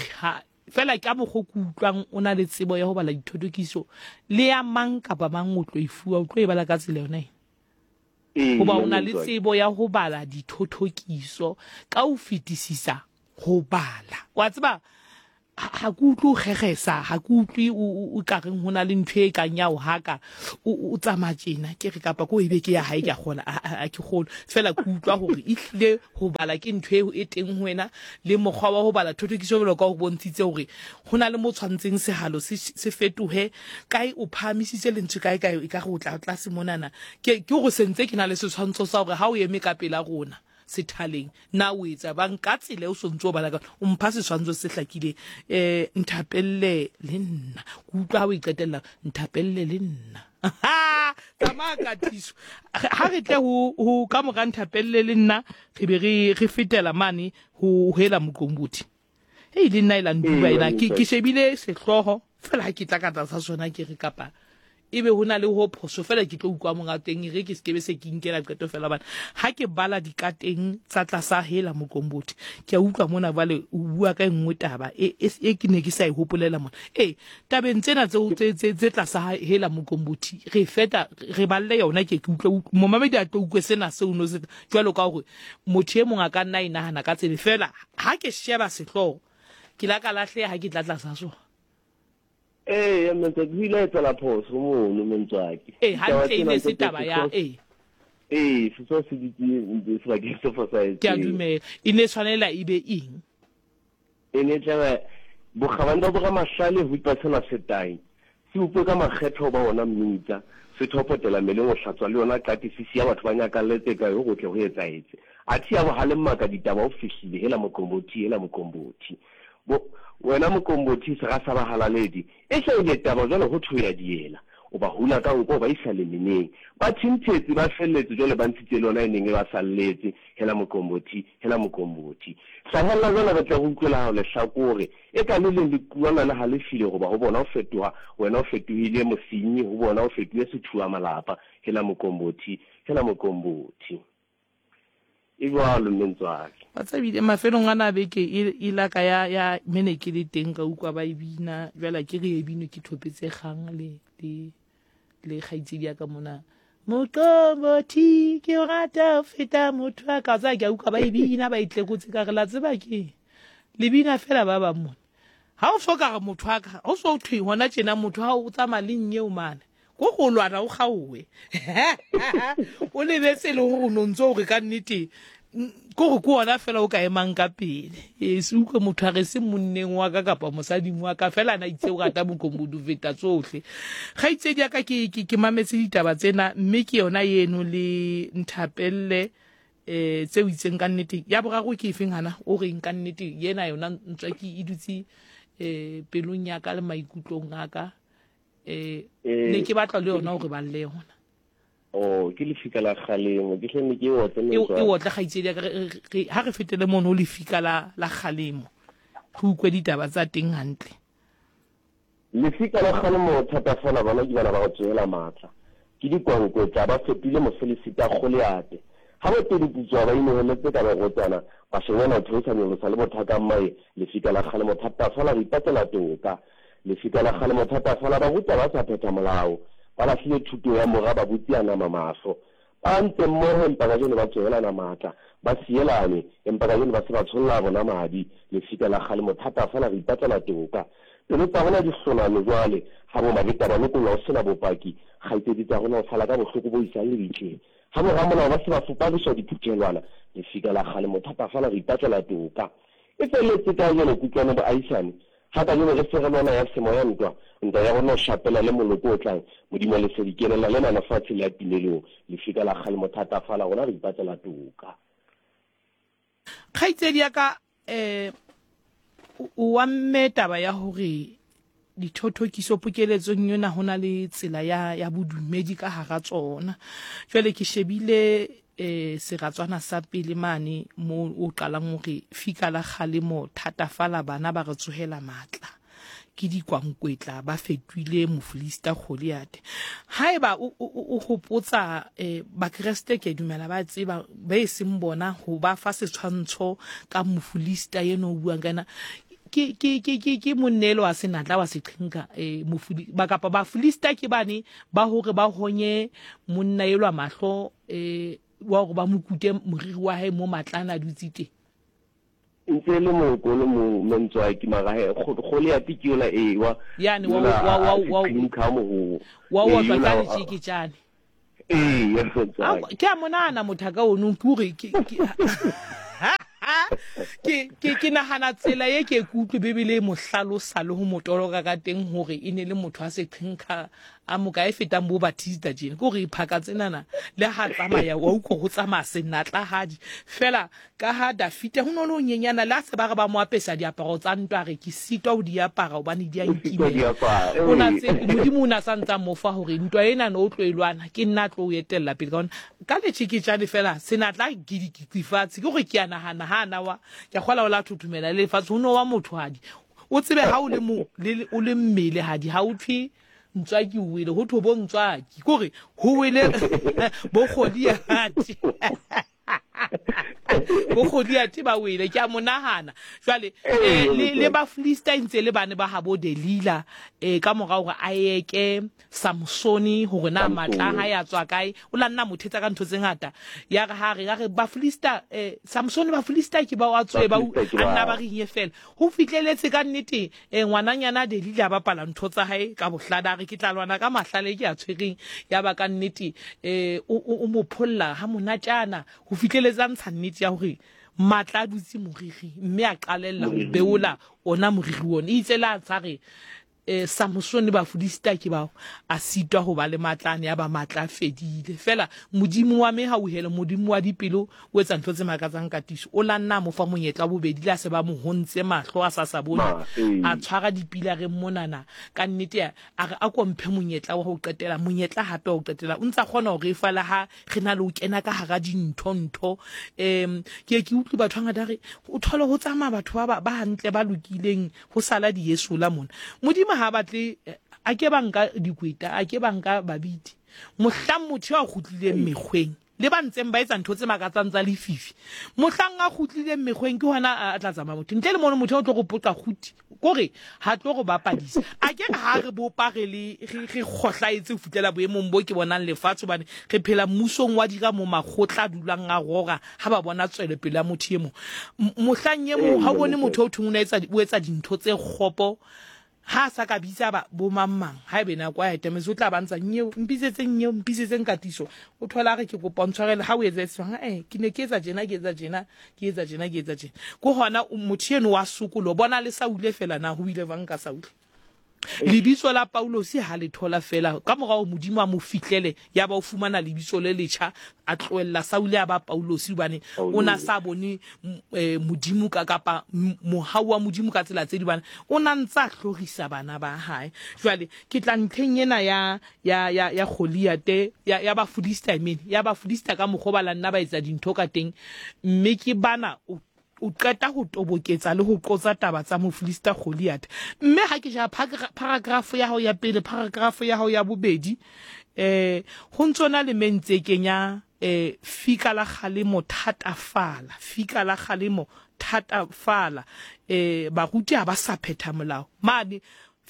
fela ka mokgo ke utlwang o na le tsebo ya ho bala dithothokiso le ya mang kapa mang o tlo e fuwa o tlo e bala ka tsela yona e. Hoba o na le tsebo ya ho bala dithothokiso ka ho fetisisa ho bala. Wa tseba ha ke utlwe o kgegesa ha ke utlwe o ka reng ho na le ntho e kang ya o haka o tsamaya tjena ke re kapa ko ebe ke ya hae ke a kgona a ke kgolo fela ke utlwa hore e hlile ho bala ke ntho e teng ho wena le mokgwa wa ho bala thothokiso jwalo ka ho bontshitse hore ho na le mo tshwantseng sehalo se se fetohe kae o phahamisitse lentswe kae kae e ka re o tla tlase monana ke ke hore sentse ke na le setshwantsho sa hore ha o eme ka pela rona sethaleng na o etsa bang ka tsela o sontso o bala ka o mpha setshwantsho se hlakile eh nthapelle le nna ke utlwa ha o iqetella nthapelle le nna tsamaya Katiso ha re tle ho ho ka mora nthapelle le nna re be re re fetela mane ho hela moqombothi Hei, le nna e la ntuba ena. Ke, ke shebile sehlooho fela ha ke tla ka tlasa sona ke re kapa ebe ho na le ho phoso fela ke tlo utlwa monga teng, e re ke se ke be se ke inkela qeto fela bana. Ha ke bala dikateng tsa tlasa hela Moqombothi, ke a utlwa mona jwale o bua ka e nngwe taba e, e, e ke ne ke sa e hopolela mona. E tabeng tsena tseo tse, tse, tse tlasa hela Moqombothi, re feta re balle yona, ke ke utlwe momamedi a tlo utlwe sena seo no se jwalo ka hore motho e mong a ka nna e nahana ka tsebe fela. Ha ke sheba sehlooho ke la ka lahleha ha ke tla tlasa sona. Ee, Mmentswaki, ho ile ha etsahala phoso mono, Mmentswaki. Ee, hantle e ne se taba ya ee. Ee, sehlooho se dutse sebakeng se fosahetseng. Ke a dumela. E ne tshwanela e be eng? E ne tlabe bokgabane ba boramahlale ho ipa sena setai. Se utlwe ka makgetho ba ona mmitsa, se thopotela mmeleng ho hlatswa le yona qatisi ya batho ba nyakalletse ka ho tle ho etsahetse. Athe ya bohale mmaka ditaba o fihlile hela Moqombothi, hela Moqombothi. Bo wena Moqombothi sera sa bahalaledi, e hlahile taba jwale ho thwe ya diela. O ba hula ka nko ba isa lemeneng. Ba thinthetse ba felletse jwale ba ntshitse le yona e neng e ba salletse, hela Moqombothi, hela Moqombothi. Hlahella jwale re tle re utlwela hao lehlakore, e ka le leng le kuana le halefile hoba ho bona o fetoha, wena o fetohile mosenyi, ho bona o fetohile sethuwa malapa, hela Moqombothi, hela Moqombothi. E jwalo Mmentswaki. Wa tsebile mafelong a na beke e la ka ya ya mene ke le teng ka utlwa ba e bina, jwale ke re e bino ke thopetse kgang le le le kgaitsedi ya ka mona. Moqombothi ke o rata ho feta motho a ka tsa ke a utlwa ba e bina ba e tlekotse ka re la tseba ke le bina fela ba bang mona. Ha o so ka re motho a ka o so thwe hona tjena motho ha o tsamaya le nyeo mane. Ko go lwana o kgaowe. O lebetse le hore o no ntso hore ka nnete ko go ko ona fela o ka emang ka pele. E se utlwe motho a re se monneng wa ka kapa mosading wa ka fela na itse o rata Moqombothi ho feta tsohle. Kgaitsedi ya ka ke ke ke mametse ditaba tsena mme ke yona eno le nthapelle eh tseo itseng ka nnete. Ya boraro ke efeng hana o reng ka nnete yena yona ntswa ke e dutse eh pelong ya ka le maikutlong a ka. Eh ne ke batla le yona hore ba le yona. Oh, ke lefika la kgalemo, ke hle ne ke otle Mmentswaki. E otle kgaitsedi ya ka, ha re fetele mono lefika la la kgalemo. Re utlwe ditaba tsa teng hantle. Lefika la kgalemo thatafala bana ke bana ba go tswela matla. Ke dikwankwetla ba fetile mofelisita Goliate. Ha ba pedi putswa ba inoheletse ka barotsana, ba shebana ho theosa nyolosa le bothaka mmae, lefika la kgalemo thatafala re ipatlela toka. Lefika la kgalemo thatafala ba ruta ba sa phetha molao. Ba lahlile thuto ya mora ba butsi a nama mahlo. Ba ntse mmoho empa kajeno ba tsohelana matla, ba sielane empa kajeno ba se ba tsholla bona madi. Lefika la kgalemo thatafala re ipatlela toka. Pelo tsa rona di hloname jwale ha bo mabeta ba lokollwa ho sena bopaki. Kgaitsedi tsa rona ho sala ka bohloko bo isang lebitleng. Ha bo ramolao ba se ba fupariswa diphuthelwana. Lefika la kgalemo thatafala re ipatlela toka. E felletse kajeno kutlwano boahisane. Ha kajeno re se re lwana ya semoya ntwa, ntwa ya rona ho shapela le moloko o tlang. Modimo lesedi kenela lena lefatshe le ya timelong. Lefika la kgalemo thatafala rona re ipatlela toka. Kgaitsedi ya ka eh o wa mme taba ya hore dithothokiso pokeletsong yona ho na le tsela ya ya bodumedi ka hara tsona. Jwale ke shebile eh seratswana sa pele mane mo o qalang hore fika la kgalemo thatafala bana ba re tsohela matla. Ke dikwankwetla ba fetohile mofilista Goliath. Haeba o o hopotsa eh bakreste ke dumela ba tseba ba e seng bona ho ba fa setshwantsho ka mofilista eno o buang kana ke ke ke ke ke monnelo wa senatla wa seqhinka eh mofuli ba kapa ba filista ke bane ba hore ba honye monna elwa mahlo eh wa hore ba mokute moriri wa hae mo matlana dutse teng. Ntse le mokolo mo Mmentswaki mara he Goliath ke yola e wa yani wa wa wa wa wa wa wa ka letjeketjane. Ee, ya Mmentswaki. Ke a monana mothaka ono ke hore ke ke ke ke nahana tsela ye ke kutlwe Bibele e mo hlalosa le ho mo toloka ka teng hore e ne le motho a seqhenka a moka e fetang bo Batista tjena ke hore iphaka tsenana le ha tsamaya wa utlwa ho tsamaya senatlahadi fela ka ha Dafita ho no le ho nyenyana le ha se ba re ba mo apesa diaparo tsa ntwa re ke sitwa ho di apara hobane di a nkimela o na tse Modimo o na sa ntsa mo fa hore ntwa ena no o tlo e lwana ke nna tlo o etella pele ka hona ka letjheketjane fela senatla gidikitsi fatshe ke hore ke a nahana ha na wa ke a kgola o la thothomela le lefatshe ho no wa motho hadi o tsebe ha o le mo o le mmele hadi ha o thwe ntswaki o wele ho thwe bo ntswaki ke hore ho wele bo Goliath bo Goliath ba wele ke a mo nahana jwale le le ba Philistine ntse le bane ba habo Delila eh ka mora hore a eke Samsoni hore na matla ha ya tswa kae o la nna mothetsa ka ntho tse ngata ya re ha re ya re ba Philista eh Samsoni ba Philista ke ba wa tswe ba a nna ba rinye fela ho fitleletse ka nnete eh ngwananyana Delila ba pala ntho tsa hae ka bohlada re ke tla lwana ka mahlale ke a tshwereng ya ba ka nnete eh o mo pholla ha monatjana ho fitleletse ntsha nnete ya hore matla a dutse moriri mme a qalella ho beola ona moriri ona itse la tshare eh Samsoni ba Filista ke bao a sitwa ho ba le matlane ya ba matla fedile fela Modimo wa me ha o hele Modimo wa dipelo o etsa ntho tse makatsang ka tiso o la nna mo fa monyetla bobedi la se ba mo hontse mahlo a sa sa bone a tshwara dipila re monana ka nnete a re a komphe monyetla wa ho qetela monyetla hape wa ho qetela o ntsa kgona hore e fala ha re na le o kena ka hara dintho ntho em ke ke utlwe batho ba ngata re o thole ho tsamaya batho ba ba hantle ba lokileng ho sala di Yesu la mona Modimo ha batle a ke banka dikweta a ke banka babiti mohlang motho a kgutlileng mekgweng le ba ntseng ba etsa ntho tse makatsang tsa lefifi mohlang a kgutlileng mekgweng ke hona a tla tsamaya motho ntle le mono motho o tlo go poqa kguti kore ha tlo go bapadisa a ke ha re bopa re le re kgohlaetse ho fitlela boemong bo ke bonang lefatshe hobane re phela mmusong wa dira mo makgotla dulang a rora ha ba bona tswelopele ya motho e mong mohlang e mong ha o bone motho o thong o etsa o etsa dintho tse kgopo ha sa ka bitsa ba bo mang mang ha ebe nako ya etemetse o tla ba ntsa nyeo mpisetseng nyeo mpisetseng katiso o thola re ke kopa ntshwarele ha o etsa setswang eh ke ne ke etsa tjena ke etsa tjena ke etsa tjena ke etsa tjena ko hona motho eno wa sokolo bona le Saule fela na ho ile bang ka Saule lebitso la Paulosi ha le thola fela ka morao Modimo a mo fitlele ya ba o fumana lebitso le letjha a tlohella Saule a ba Paulosi hobane o na sa bone Modimo ka kapa mohau wa Modimo ka tsela tse di bana o na ntsa hlorisa bana ba hae jwale ke tla ntlheng ena ya ya ya ya Goliath ya ya ba Filista I mean ya ba Filista ka mokgwa ba la nna ba etsa dintho ka teng mme ke bana o qeta ho toboketsa le ho qotsa taba tsa Mofilista Goliath mme ha ke ja paragraph ya hao ya pele paragraph ya hao ya bobedi eh ho ntsona le mentse kenya eh fika la kgalemo thatafala fika la kgalemo thatafala eh baruti ha ba sa phetha molao mane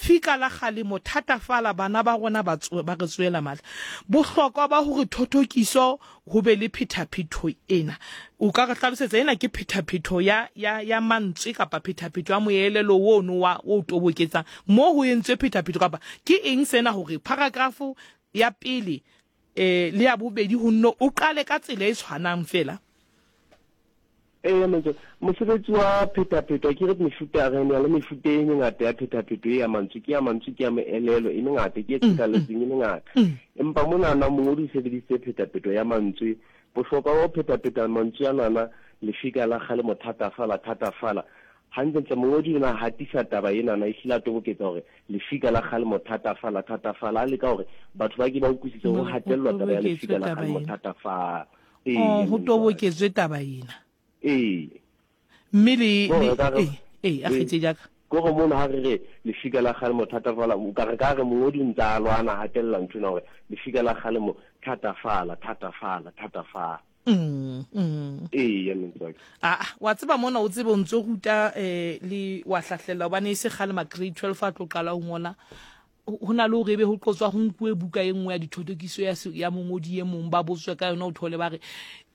fika la kgalemo thatafala bana ba rona ba ba re tswela matla bohlokwa ba hore thothokiso ho be le phethaphetho ena o ka re hlalosetsa ena ke phethaphetho ya ya ya mantswe kapa phethaphetho ya moelelo ono wa o toboketsang mo ho entswe phethaphetho kapa ke eng sena hore paragraph ya pele eh le ya bobedi ho nno o qale ka tsela e tshwanang fela Eh motho mosebetsi wa phethaphetho ke re mefuta re ne le mefuta e mengata ya phethaphetho ya mantswe ke ya mantswe ke ya moelelo e mengata ke e tshekaletseng e mengata empa mona na mongodi o sebedisitse phethaphetho ya mantswe bohlokwa ba phethaphetho mantswe a nana lefika la kgale mothatafala thatafala hantlentle mongodi o na hatisa taba ena na e hlile a toboketsa hore lefika la kgale mothatafala thatafala a leka hore batho ba ke ba utlwisise ho hatellwa taba ya lefika la kgale mothatafala eh ho toboketswe taba ena eh mme le eh eh a kgetse jaaka go go mona ha re re lefika la kgale mothatafala o ka re ka re mongodi o ntsa a lwana hatella ntho ena hore lefika la kgale mo thatafala thatafala thatafala mm mm eh ya mentswa ah wa tseba mona o tsebe o ntso ruta eh le wa hlahlela hobane e se kgale ma grade twelve a tlo qala ho ngola ho na le hore ebe ho qotswa ho nkuwe buka e nngwe ya dithotokiso ya ya mongodi e mong ba botswe ka yona o thole ba re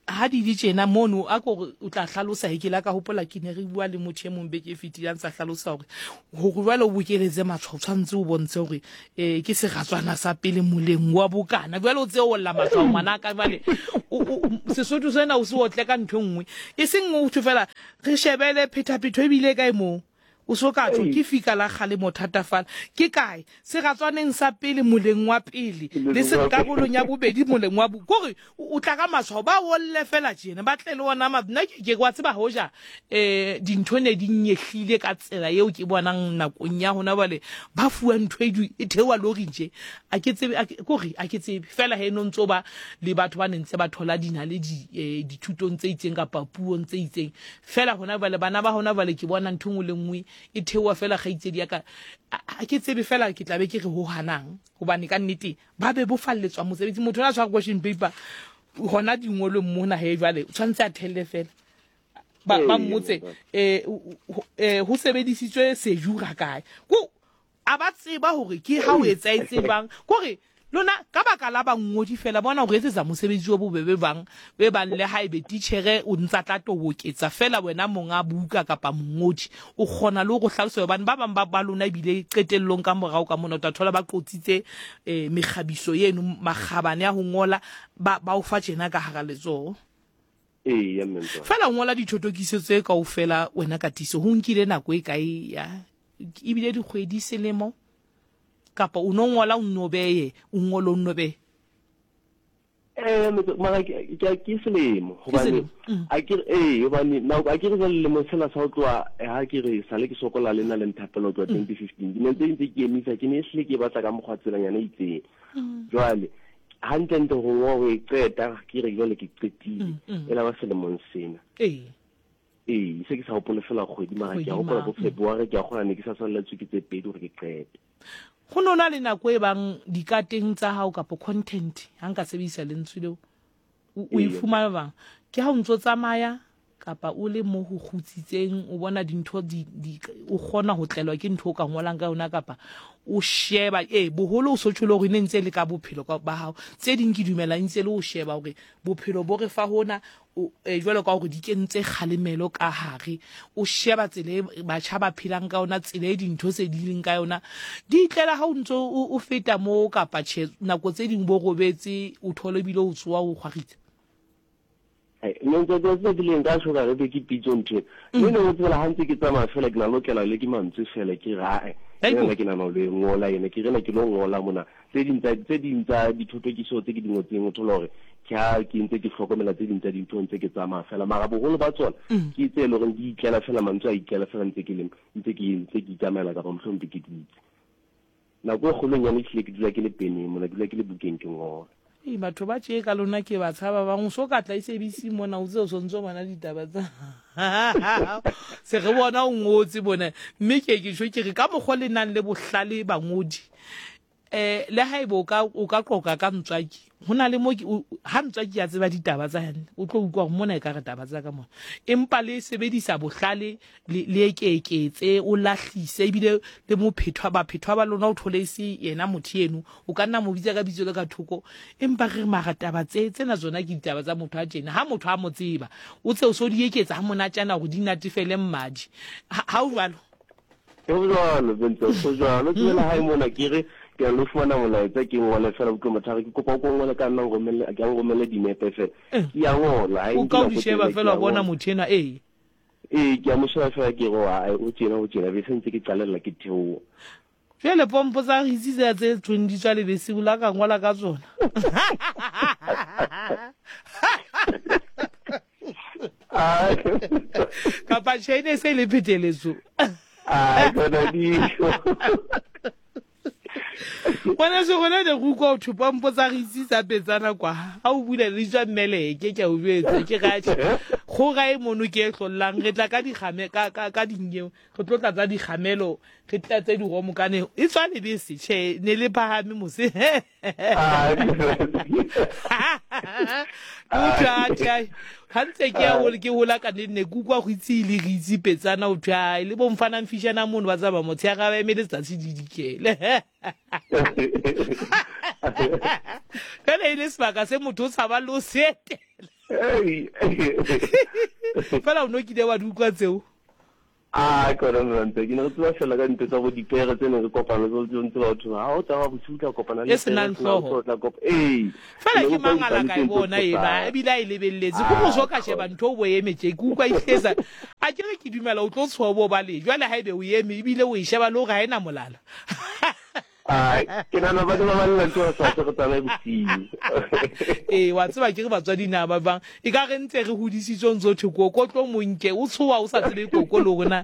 ha di di tjena mono a ko o tla hlalosa he ke la ka hopola ke ne re bua le motho e mong beke e fetileng sa hlalosa hore hore jwale o bokeletse matshwao tshwantse o bontshe hore eh ke seratswana sa pele moleng wa bokana jwale o tse o lla matshwao ngwana ka jwale Sesotho sena o se otle ka ntho nngwe e seng o thwe fela re shebele phethaphetho ebile kae moo O so ka tjho ke fika la kgale mo thatafala. Ke kae? Seratswaneng sa pele moleng wa pele le se karolong ya bobedi moleng wa bo. Kore o tla ka matshwao ba wolle fela tjena ba tle le ona ma nna ke ke wa tseba hoja eh dintho ne di nyehlile ka tsela eo ke bonang nakong ya hona bale ba fuwa ntho e e thewa lori nje. A ke tsebe kore a ke tsebe fela he no ntso ba le batho ba nentse ba thola dina le di dithutong tse itseng kapa puong tse itseng. Fela hona bale bana ba hona bale ke bona ntho nngwe le nngwe e theoha fela kgaitsedi ya ka. A ke tsebe fela ke tla be ke re ho hanang hobane ka nnete ba be bo falletswa mosebetsi. Motho a tshwara question paper hona dingolong mona he jwale o tshwanetse a thelle fela ba ba mmotse eh ho sebedisitswe sejura kae ko a ba tseba hore ke ha o etsa e tsebang kore lona ka baka la bangodi fela bona o etsetsa mosebetsi o bobebe bang be bang le ha ebe teachere o ntsa tla toboketsa fela wena monga buka kapa mongodi o kgona le go hlalosa hobane ba bang ba ba lona ebile qetellong ka morao ka mona o tla thola ba qotsitse eh mekgabiso eno makgabane a ho ngola ba ba o fa tjena ka hara letsoho. Ee, ya mme. Fela o ngola dithotokiso tse kaofela wena ka tiso ho nkile nako e kae ya ebile dikgwedi selemo kapa o no ngola o nobeye o ngolo o nobe eh mara ke ke selemo hobane a ke eh hobane na a ke re jwale lemo sena sa ho tloha ha ke re sale ke sokola le nna le nthapelo tloha twenty fifteen ke ne ntse ntse ke emisa ke ne hle ke batla ka mokgwa tselanyana e itseng jwale hantle ntle ho ngo ho e qeta ke re jwale ke qetile e la ba selemong sena ee ee se ke sa hopole fela kgwedi mara ke a hopola bo February ke a kgona ne ke sa salletswe ke tse pedi hore ke qete. Go nona le nako e bang dikateng tsa hao kapa content ha nka sebedisa lentswe leo o e fumana bang ke ha o ntso tsamaya kapa o le mo ho kgutsitseng o bona dintho di o kgona ho tlelwa ke ntho o ka ngolang ka yona kapa o sheba eh boholo o so tsholo hore ne ntse le ka bophelo ba hao tse ding ke dumela ntse le o sheba hore bophelo bo re fa hona eh jwalo ka hore di kentse kgalemelo ka hare o sheba tsela e batjha ba phelang ka yona tsela e dintho tse di leng ka yona di tlela ha o ntso o feta mo kapa tjhe nako tse ding bo robetse o thole bile o tsoa o kgwaritse. Nne ntse tse di leng ka shoka re be ke pitso ntho mme ne o tsela ha ntse ke tsamaya fela ke na lokela le ke mantswe fela ke rae nna ke nana le ngola ene ke rena ke lo ngola mona tse ding tsa tse ding tsa dithotokiso tse ke di ngotseng o thola hore ke ha ke ntse ke hlokomela tse ding tsa dintho ntse ke tsamaya fela mara boholo ba tsona ke tse e leng hore di itlela fela mantswe a itlela fela ntse ke leng ntse ke ntse ke itsamaela kapa mohlomong ke dutse nako e kgolonyane ehlile ke dula ke le peneng mona ke dula ke le bukeng ke ngola. Ee batho ba tje ka lona ke ba tshaba bang o so ka tla S A B C mona o tse o sontso bona ditaba tsa se re bona o ngotse bona mme ke ke tjho ke re ka mokgwa le nang le bohlale bangodi eh le ha ebe o ka o ka qoka ka ntswaki hona le mo ha ntswaki ya tseba ditaba tsa hane o tlo utlwa hore mona e ka re taba tsa ka mona empa le sebedisa bohlale le le ekeketse o lahlise ebile le mophethwa ba phethwa ba lona o thole se yena motho eno o ka nna mo bitsa ka bitso le ka thoko empa re mara taba tse tsena tsona ke ditaba tsa motho a tjena ha motho a mo tseba o tse o so di eketsa ha monatjana hore di natefele mmadi ha o jwalo ho jwalo bentse ho jwalo tsela ha e mona ke re ke a lo fumana molaetsa ke ngole fela botlho motho ke kopa o ngole ka nna ngomele ke a ngomele dinepe fela ke a ngola ha o ka o sheba fela bona motho ena ee ee ke a mo sheba fela ke go a o tjena o tjena be sentse ke qalella ke theoha jwale pompo tsa ritsi tse tse tshweng di tswa lebese o la ka ngola ka tsona kapa tjhe e se le pheteletso a bona di Ngwana se gona ne go utlwa ho thwe pompo tsa ritsi tsa petsana kwa ha o bula le tswa mmeleke ke a o jwetsa ke ratjhe kgoga e mono ke e hlollang re tla ka dikgame ka ka ka dinyeo re tlo tlatsa dikgamelo re tlatse diromo kane e tswa lebese tjhe ne le phahame mose o tla tjhe ha ntse ke ya hole ke hola ka nne ke utlwa go itse le re itse petsana o tla le bo mfana mfishana mono ba tsaba motho ya ga ba emele tsatsi di dikele fela e le sebaka se motho o tshaba le o se etela fela o no kile wa di utlwa tseo A kona ntse ke ne re tseba fela ka ntho tsa bo dipere tse ne re kopana tse tse ntse batho ha o tsamaya bosiu tla kopana le e senang hlooho ee fela ke mangala ka e bona ena ebile a e lebelletse ko motho ka sheba ntho o bo eme tje ke utlwa ihleza a ke re ke dumela o tlo tshoa bo ba le jwale ha ebe o eme ebile o e sheba le hore ha ena molala. Ai ke nana ba ba ba ntho sa tse go tsamaye bosiu. Ee wa tseba ke re batswadi na ba bang e ka re ntse re hodisitswe ntse thwe koko tlo monke o tshoa o sa tsebe koko le rona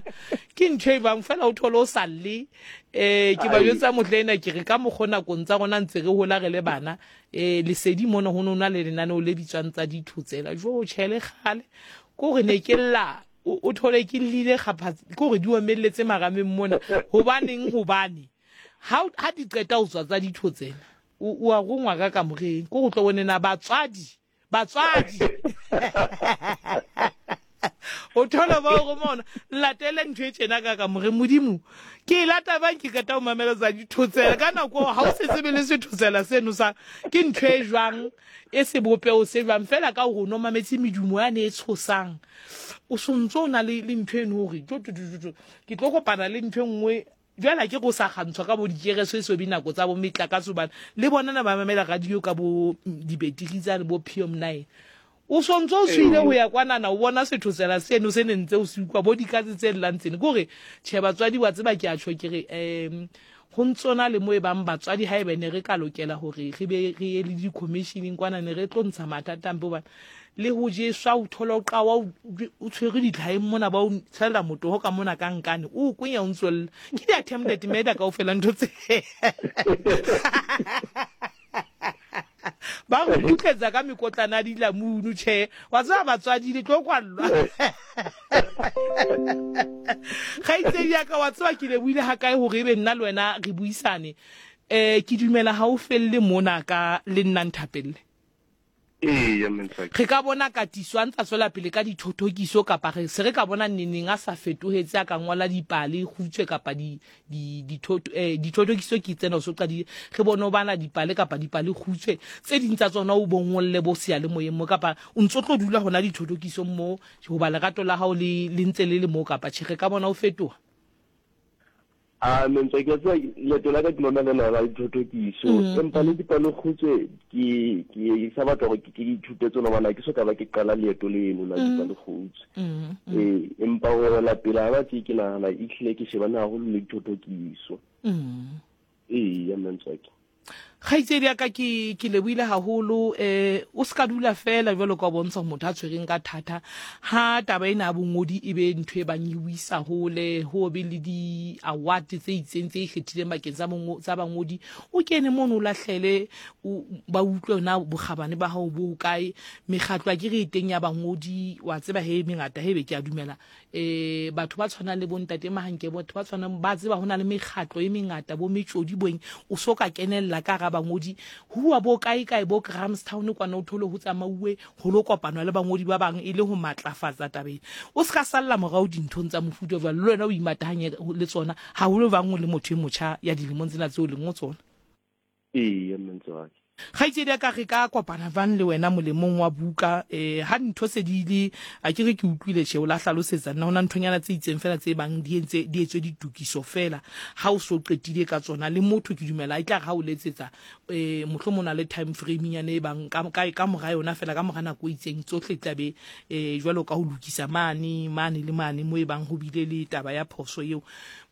ke ntho e bang fela o thole o sa lle. Eh ke ba jwetsa motle ena ke re ka mokgona nakong tsa rona ntse re hola re le bana eh lesedi mona ho nona le lenaneo le bitswang tsa dithotsela jo tjhele kgale ko re ne ke lla o thole ke llile kgapha ko re di omelletse marameng mona hobaneng hobane ha ha di qeta ho tswa tsa dithotsela o a rongwa ka kamoreng ko go tlo bone na batswadi batswadi o thola ba go mona latele ntho e tjena ka kamoreng modimo ke lata bang ke qeta ho mamela tsa dithotsela ka nako ha o se tsebe le sethotsela seno sa ke ntho e jwang e sebopeho se jwang fela ka hore no mametse medumo ya ne e tshosang o sontso o na le le ntho eno hore ke tlo kopana le ntho e nngwe jwale ke go sa kgantshwa ka bo dikereso e so binako tsa bo metlakase bana le bona na ba mamela radio ka bo dibetiri tsa le bo P M nine o sontso o tswile ho ya kwanana o bona sethotsela seno se ne ntse o se utlwa bo dikatse tse llang tsene ke hore tjhe batswadi wa tseba ke a tjho ke re um ho ntsona le mo e bang batswadi ha ebe ne re ka lokela hore re be re ye le di-commissioning kwana ne re tlo ntsha mathata ampe hobane le ho jeswa o thola o qawa o tshwere ditlhaeng mona ba o tshela motoho ka mona ka nkane o kwenya o ntswella ke di-attempted murder kaofela ntho tse ba go kgutletsa ka mekotlana ya dilamunu tjhe wa tseba batswadi le tlo kwallwa. Kgaitsedi ya ka wa tseba ke lebohile ha kae hore ebe nna le wena re buisane eh ke dumela ha o felle mona ka le nna nthapelle. Re ka bona katiso a ntsa tswela pele ka dithothokiso kapa re se re ka bona neneng a sa fetohetse a ka ngola dipale kgutshwe kapa di di dithothokiso ke tsena o so qadile re bone o bana dipale kapa dipale kgutshwe tse ding tsa tsona o bongolle bo seyalemoyeng mo kapa o ntso tlo dula hona dithothokiso mo hoba lerato la hao le le ntse le le mo kapa tjhe re ka bona o fetoha. A mentse ke tswa leeto la ka ke lona lena la dithothokiso empa le dipalo kgutshwe ke ke sa batla hore ke ithute tsona bana ke so ka ba ke qala leeto leno la dipalo kgutshwe ee empa ho la pele ha ba tse ke nahana e hlile ke shebane haholo le dithothokiso ee ya mentse ke Kgaitsedi ya ka ke ke lebohile haholo eh o ska dula fela jwalo ka bontsha motho a tshwereng ka thata ha taba ena ya bongodi e be ntho e bang e wisa hole ho be le di award tse itseng tse ikgethileng bakeng tsa mongo tsa bangodi o kene mono o lahlele ba utlwe na bokgabane ba hao bo kae mekgatlo a ke re teng ya bangodi wa tseba he mengata hebe ke a dumela eh batho ba tshwanang le bontate Mahanke batho ba tshwanang ba tseba hona le mekgatlo e mengata bo metjodi boeng o so ka kenella ka ga bangodi huwa bo kae kae bo Grahamstown kwana o thole ho tsamauwe ho lo kopanwa le bangodi ba bang e le ho matlafatsa tabeng o ska salla morao dinthong tsa mofuta jwalo le wena o imatahanye le tsona haholo bang o le motho e motjha ya dilemong tsena tseo leng o tsona. Ee mentse wa ke Kgaitsedi ya ka re ka kopana jwang le wena molemong wa buka eh ha ntho se di ile a ke re ke utlwile tjhe o la hlalosetsa nna hona nthonyana tse itseng fela tse bang di entse di etswe ditokiso fela ha o so qetile ka tsona le motho ke dumela e tla re ha o letsetsa eh mohlomong o na le time frame nyane e bang ka ka ka mora yona fela ka mora nako e itseng tsohle tla be eh jwalo ka ho lokisa mane mane le mane mo e bang ho bile le taba ya phoso eo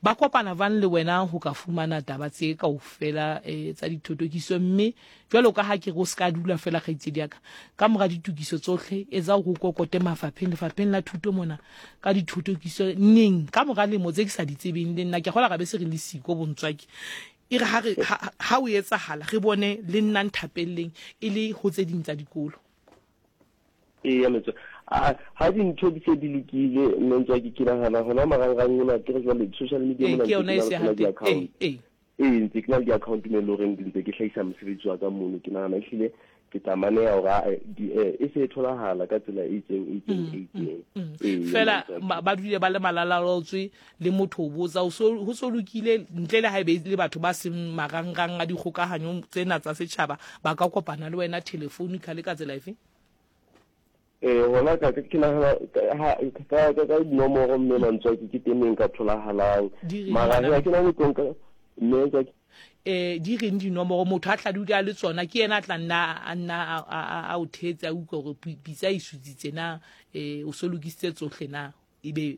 ba kopana jwang le wena ho ka fumana taba tse kaofela eh tsa dithotokiso mme jwalo ka ha ke go ska dula fela kgaitsedi ya ka ka mora ditokiso tsohle etsa go kokote mafapheng lefapheng la thuto mona ka dithotokiso neng ka mora lemo tse ke sa di tsebeng le nna ke gola ga be se re le siko bontswaki e re ha re ha o etsahala re bone le nna nthapelleng e le ho tse ding tsa dikolo. Ee mentse a ha dintho di se di lokile mentse ke ke nahana hona marangrang ona ke re jwale social media mona ke yona e se hantle ee ee ee ntse ke na le di-account mo e leng horeng ntse ke hlahisa mosebetsi wa ka mono ke nahana ehlile ke tla maneha hore e se e tholahala ka tsela e itseng e itseng e itseng fela ba dule ba le malalalaotswe le motho o botsa ho so lokile ntle le ha ebe le batho ba seng marangrang a dikgokahanyo tsena tsa setjhaba ba ka kopana le wena telephonically ka tsela efe? Eh hona ka ke nahana ka ka ka ka dinomoro mme Mantswaki ke teng e nka tholahalang. Di reng Mara ngwana? ha ke na le tlo nka mme Ntswaki Eh di reng dinomoro motho a tla dula le tsona ke yena a tla nna a nna a- a a- a o thetse a utlwa hore pi- pitsa e sutsitse na eh o so lokisitse tsohle na ebe